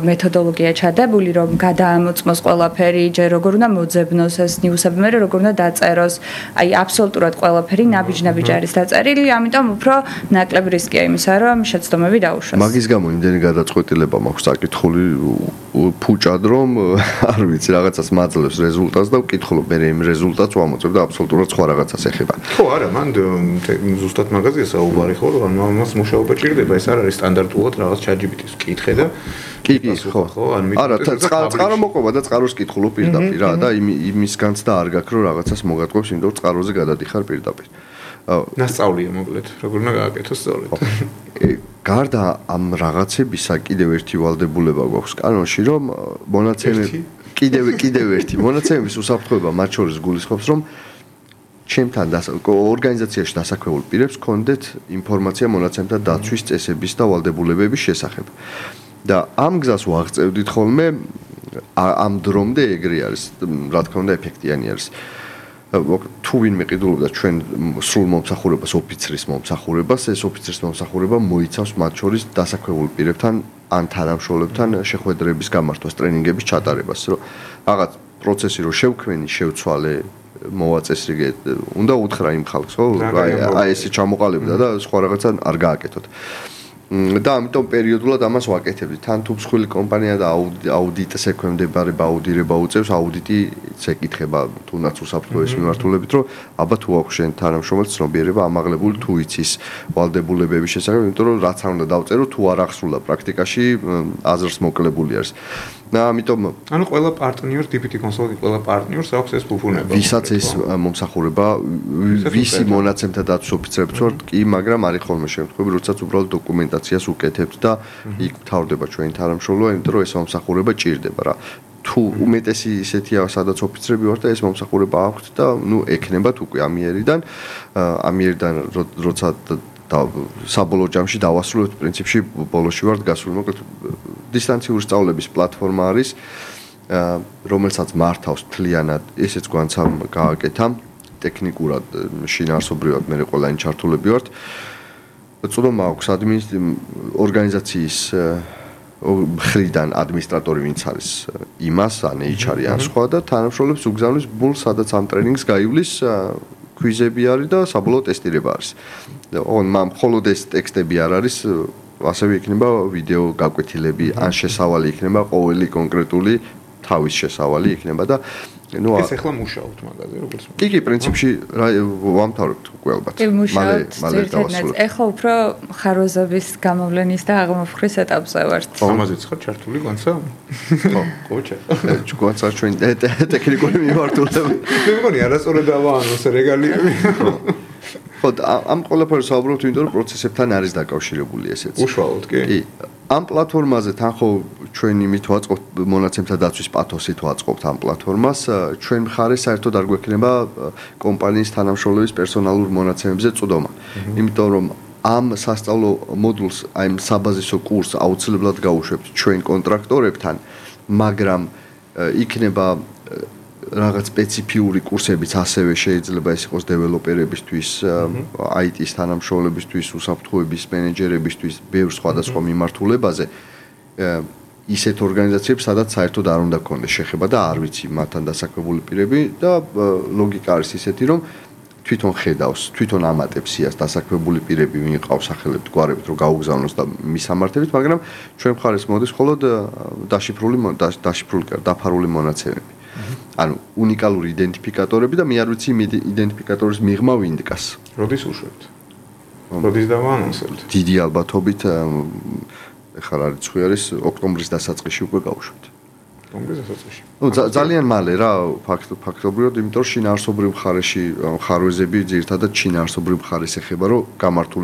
მეთოდოლოგია ჩადებული, რომ გადაამოწმოს ყველაფერი, ჯერ როგორ უნდა მოძებნოს ეს ნიუსები, მე როგორ უნდა დაწეროს, აი აბსოლუტურად ყველაფერი ნაბიჯ-ნაბიჯ არის დაწერილი, ამიტომ უფრო ნაკლები რისკია იმისა, რომ შეცდომები დაუშვას. მაგის გამო იმდენი გადაწყვეტილება მაქვს საკითხული ფუჭად, რომ არ ვიცი, რაღაცას მაძლევს რეზულტატს და ვკითხულობ, მე იმ რეზულტატს ვამოწმებ და აბსოლუტურად სხვა რაღაცას ეხება. ხო, არა, მან ზუსტად მაგაზია საუბარი ხო, რომ ამას მუშაობა ჭირდება, ეს არ არის სტანდარტულად რაღაც ChatGPT-ს კითხე და კი, ხო, არა, წყარო მოყვება და წყაროს კითხულობ პირდაპირ რა და იმისგანც და არ გაქვს რომ რაღაცას მოგატყობს, იმიტომ რომ წყაროზე გადადიხარ პირდაპირ. ნასწავლია მოკლედ, როგორ უნდა გააკეთოს სწორედ. გარდა ამ რაღაცებისა კიდევ ერთი ვალდებულება გვაქვს კანონში, რომ მონაცემები კიდევ ერთი მონაცემების უსაფრთხოება მათ შორის გულისხმობს, რომ ჩემთან ორგანიზაციაში დასაქმებულ პირებს ჰქონდეთ ინფორმაცია მონაცემთა დაცვის წესების და ვალდებულებების შესახებ. და ამ გზას ვაღწევდით ხოლმე ამ დრომდე ეგრე არის, რა თქმა უნდა ეფექტიანი არის. თუ ვინმე ყიდულობდა ჩვენ სრულ მომსახურებას, ოფიცრის მომსახურებას, ეს ოფიცრის მომსახურება მოიცავს მათ შორის დასაქმებულ პირებთან ან თანამშრომლებთან შეხვედრების გამართვას, ტრენინგების ჩატარებას, რომ რაღაც პროცესი რო შევქმენი, შევცვალე, მოვაწესრიგე, უნდა უთხრა იმ ხალხს, ხო? აი ესე ჩამოყალიბდა და სხვა რაღაცა არ გააკეთოთ. და ამიტომ პერიოდულად ამას ვაკეთებდი. თან თუ მსხვილი კომპანია და აუდიტს ექვემდებარება, აუდირება უწევს, აუდიტი ეკითხება თუნდაც უსაფრთხოების მიმართულებით, რომ აბა თუ აქვს შენ თანამშრომელს ცნობიერება ამაღლებული თუ იცის ვალდებულებების შესახებ, იმიტომ რომ რაც არ უნდა დავწერო, თუ არ ახსრულა პრაქტიკაში, აზრს მოკლებული არის. და ამიტომ ანუ ყველა პარტნიორს, DPT Consulting ყველა პარტნიორს აქვს ეს ფუფუნება. ვისაც ეს მომსახურება, ვისი მონაცემთა დაცვის ოფიცრებს ვართ, კი, მაგრამ არის ხოლმე შემთხვევები, როდესაც უბრალოდ დოკუმენტაციას უკეთებთ და იქ თავდება ჩვენი თანამშრომლობა, იმიტომ რომ ეს მომსახურება ჭირდება რა. თუ უმეტესი ისეთია, სადაც ოფიცრები ვართ და ეს მომსახურება აქვთ და ნუ ექნებათ უკვე ამიერიდან როცა და საბოლოო ჯამში დავასრულებთ პრინციპში ბოლოში ვართ გასული მოკლედ დისტანციური სწავლების პლატფორმა არის რომელსაც მართავს თლიანად ესეც გვანცამ გააკეთა ტექნიკურად შინაარსობრივად მე ყველანი ჩართულები ვართ წოდომა აქვს ორგანიზაციის მხრიდან ადმინისტრატორი ვინც არის იმას ან HR-ი ან სხვა და თანამშრომლებს უგზავნის ბულ სადაც ამ ტრენინგს გაივლის ქვიზები არის და საბოლოო ტესტირება არის. ოღონდ მხოლოდ ეს ტექსტები არ არის, ასევე იქნება ვიდეო გაკვეთილები, ან შესავალი იქნება ყოველი კონკრეტული თავის შესავალი იქნება და ეს ახლა მუშაობთ მაგაზე როგორც კი პრინციპში ვამთავრებთ უკვე ალბათ მალე დავასრულებ ეხლა უფრო ხარვეზების გამოვლენის და აღმოფხრის ეტაპზე ვართ ამაზეც ხარ ჩართული განსა ხო ყოჩა ჯგუანცა ჩვენ ტექნიკური მიმართულებით მე მგონი არასწორად დავაანოს რეგალიები ხო ამ ყველაფერს საუბრობთ იმიტომ რომ პროცესებთან არის დაკავშირებული ესეც უშუალოდ კი ამ პლატფორმაზე თან ხო ჩვენ იმით ვაწყობთ მონაცემთა დაცვის პათოსით ვაწყობთ ამ პლატფორმას ჩვენ მხარე საერთოდ არ გვექნება კომპანიის თანამშრომლების პერსონალურ მონაცემებზე წვდომა იმიტომ რომ ამ სასწავლო მოდულს აი ამ საბაზისო კურსს აუცილებლად გავუშვებთ ჩვენ კონტრაქტორებთან მაგრამ იქნება რაღაც სპეციფიური კურსებიც ასევე შეიძლება ეს იყოს დეველოპერებისთვის, IT-ის თანამშრომლებისთვის, უსაფრთხოების მენეჯერებისთვის, ბევრ სხვადასხვა მიმართულებაზე. ისეთ ორგანიზაციებს, სადაც საერთოდ არ უნდა გქონდეს შეხება და არ ვიცი მათთან დასაქმებული პირები და ლოგიკა არის ისეთი, რომ თვითონ ხედავს, თვითონ ამატებს იას დასაქმებული პირები ვინ ყავს სახელებით, გვარებით, რომ გაუგზავნოს და მისამართებით, მაგრამ ჩვენ მხარეს მოდის მხოლოდ დაფარული მონაცემები. ანუ უნიკალური იდენტიფიკატორები და მე არ ვიცი იმ იდენტიფიკატორის მიღმა ვინ დგას. როდის უშვებთ? როდის დავაანონსებთ? დიდი ალბათობით ეხლა რა რიცხვი არის ოქტომბრის დასაწყისში უკვე გავუშვებთ. ოქტომბრის დასაწყისში. ნუ ძალიან მალე რა ფაქტობრივად, იმიტომ რომ შინაარსობრივ მხარეში ხარვეზები ძირითადად შინაარსობრივ მხარეს ეხება, რომ გამართული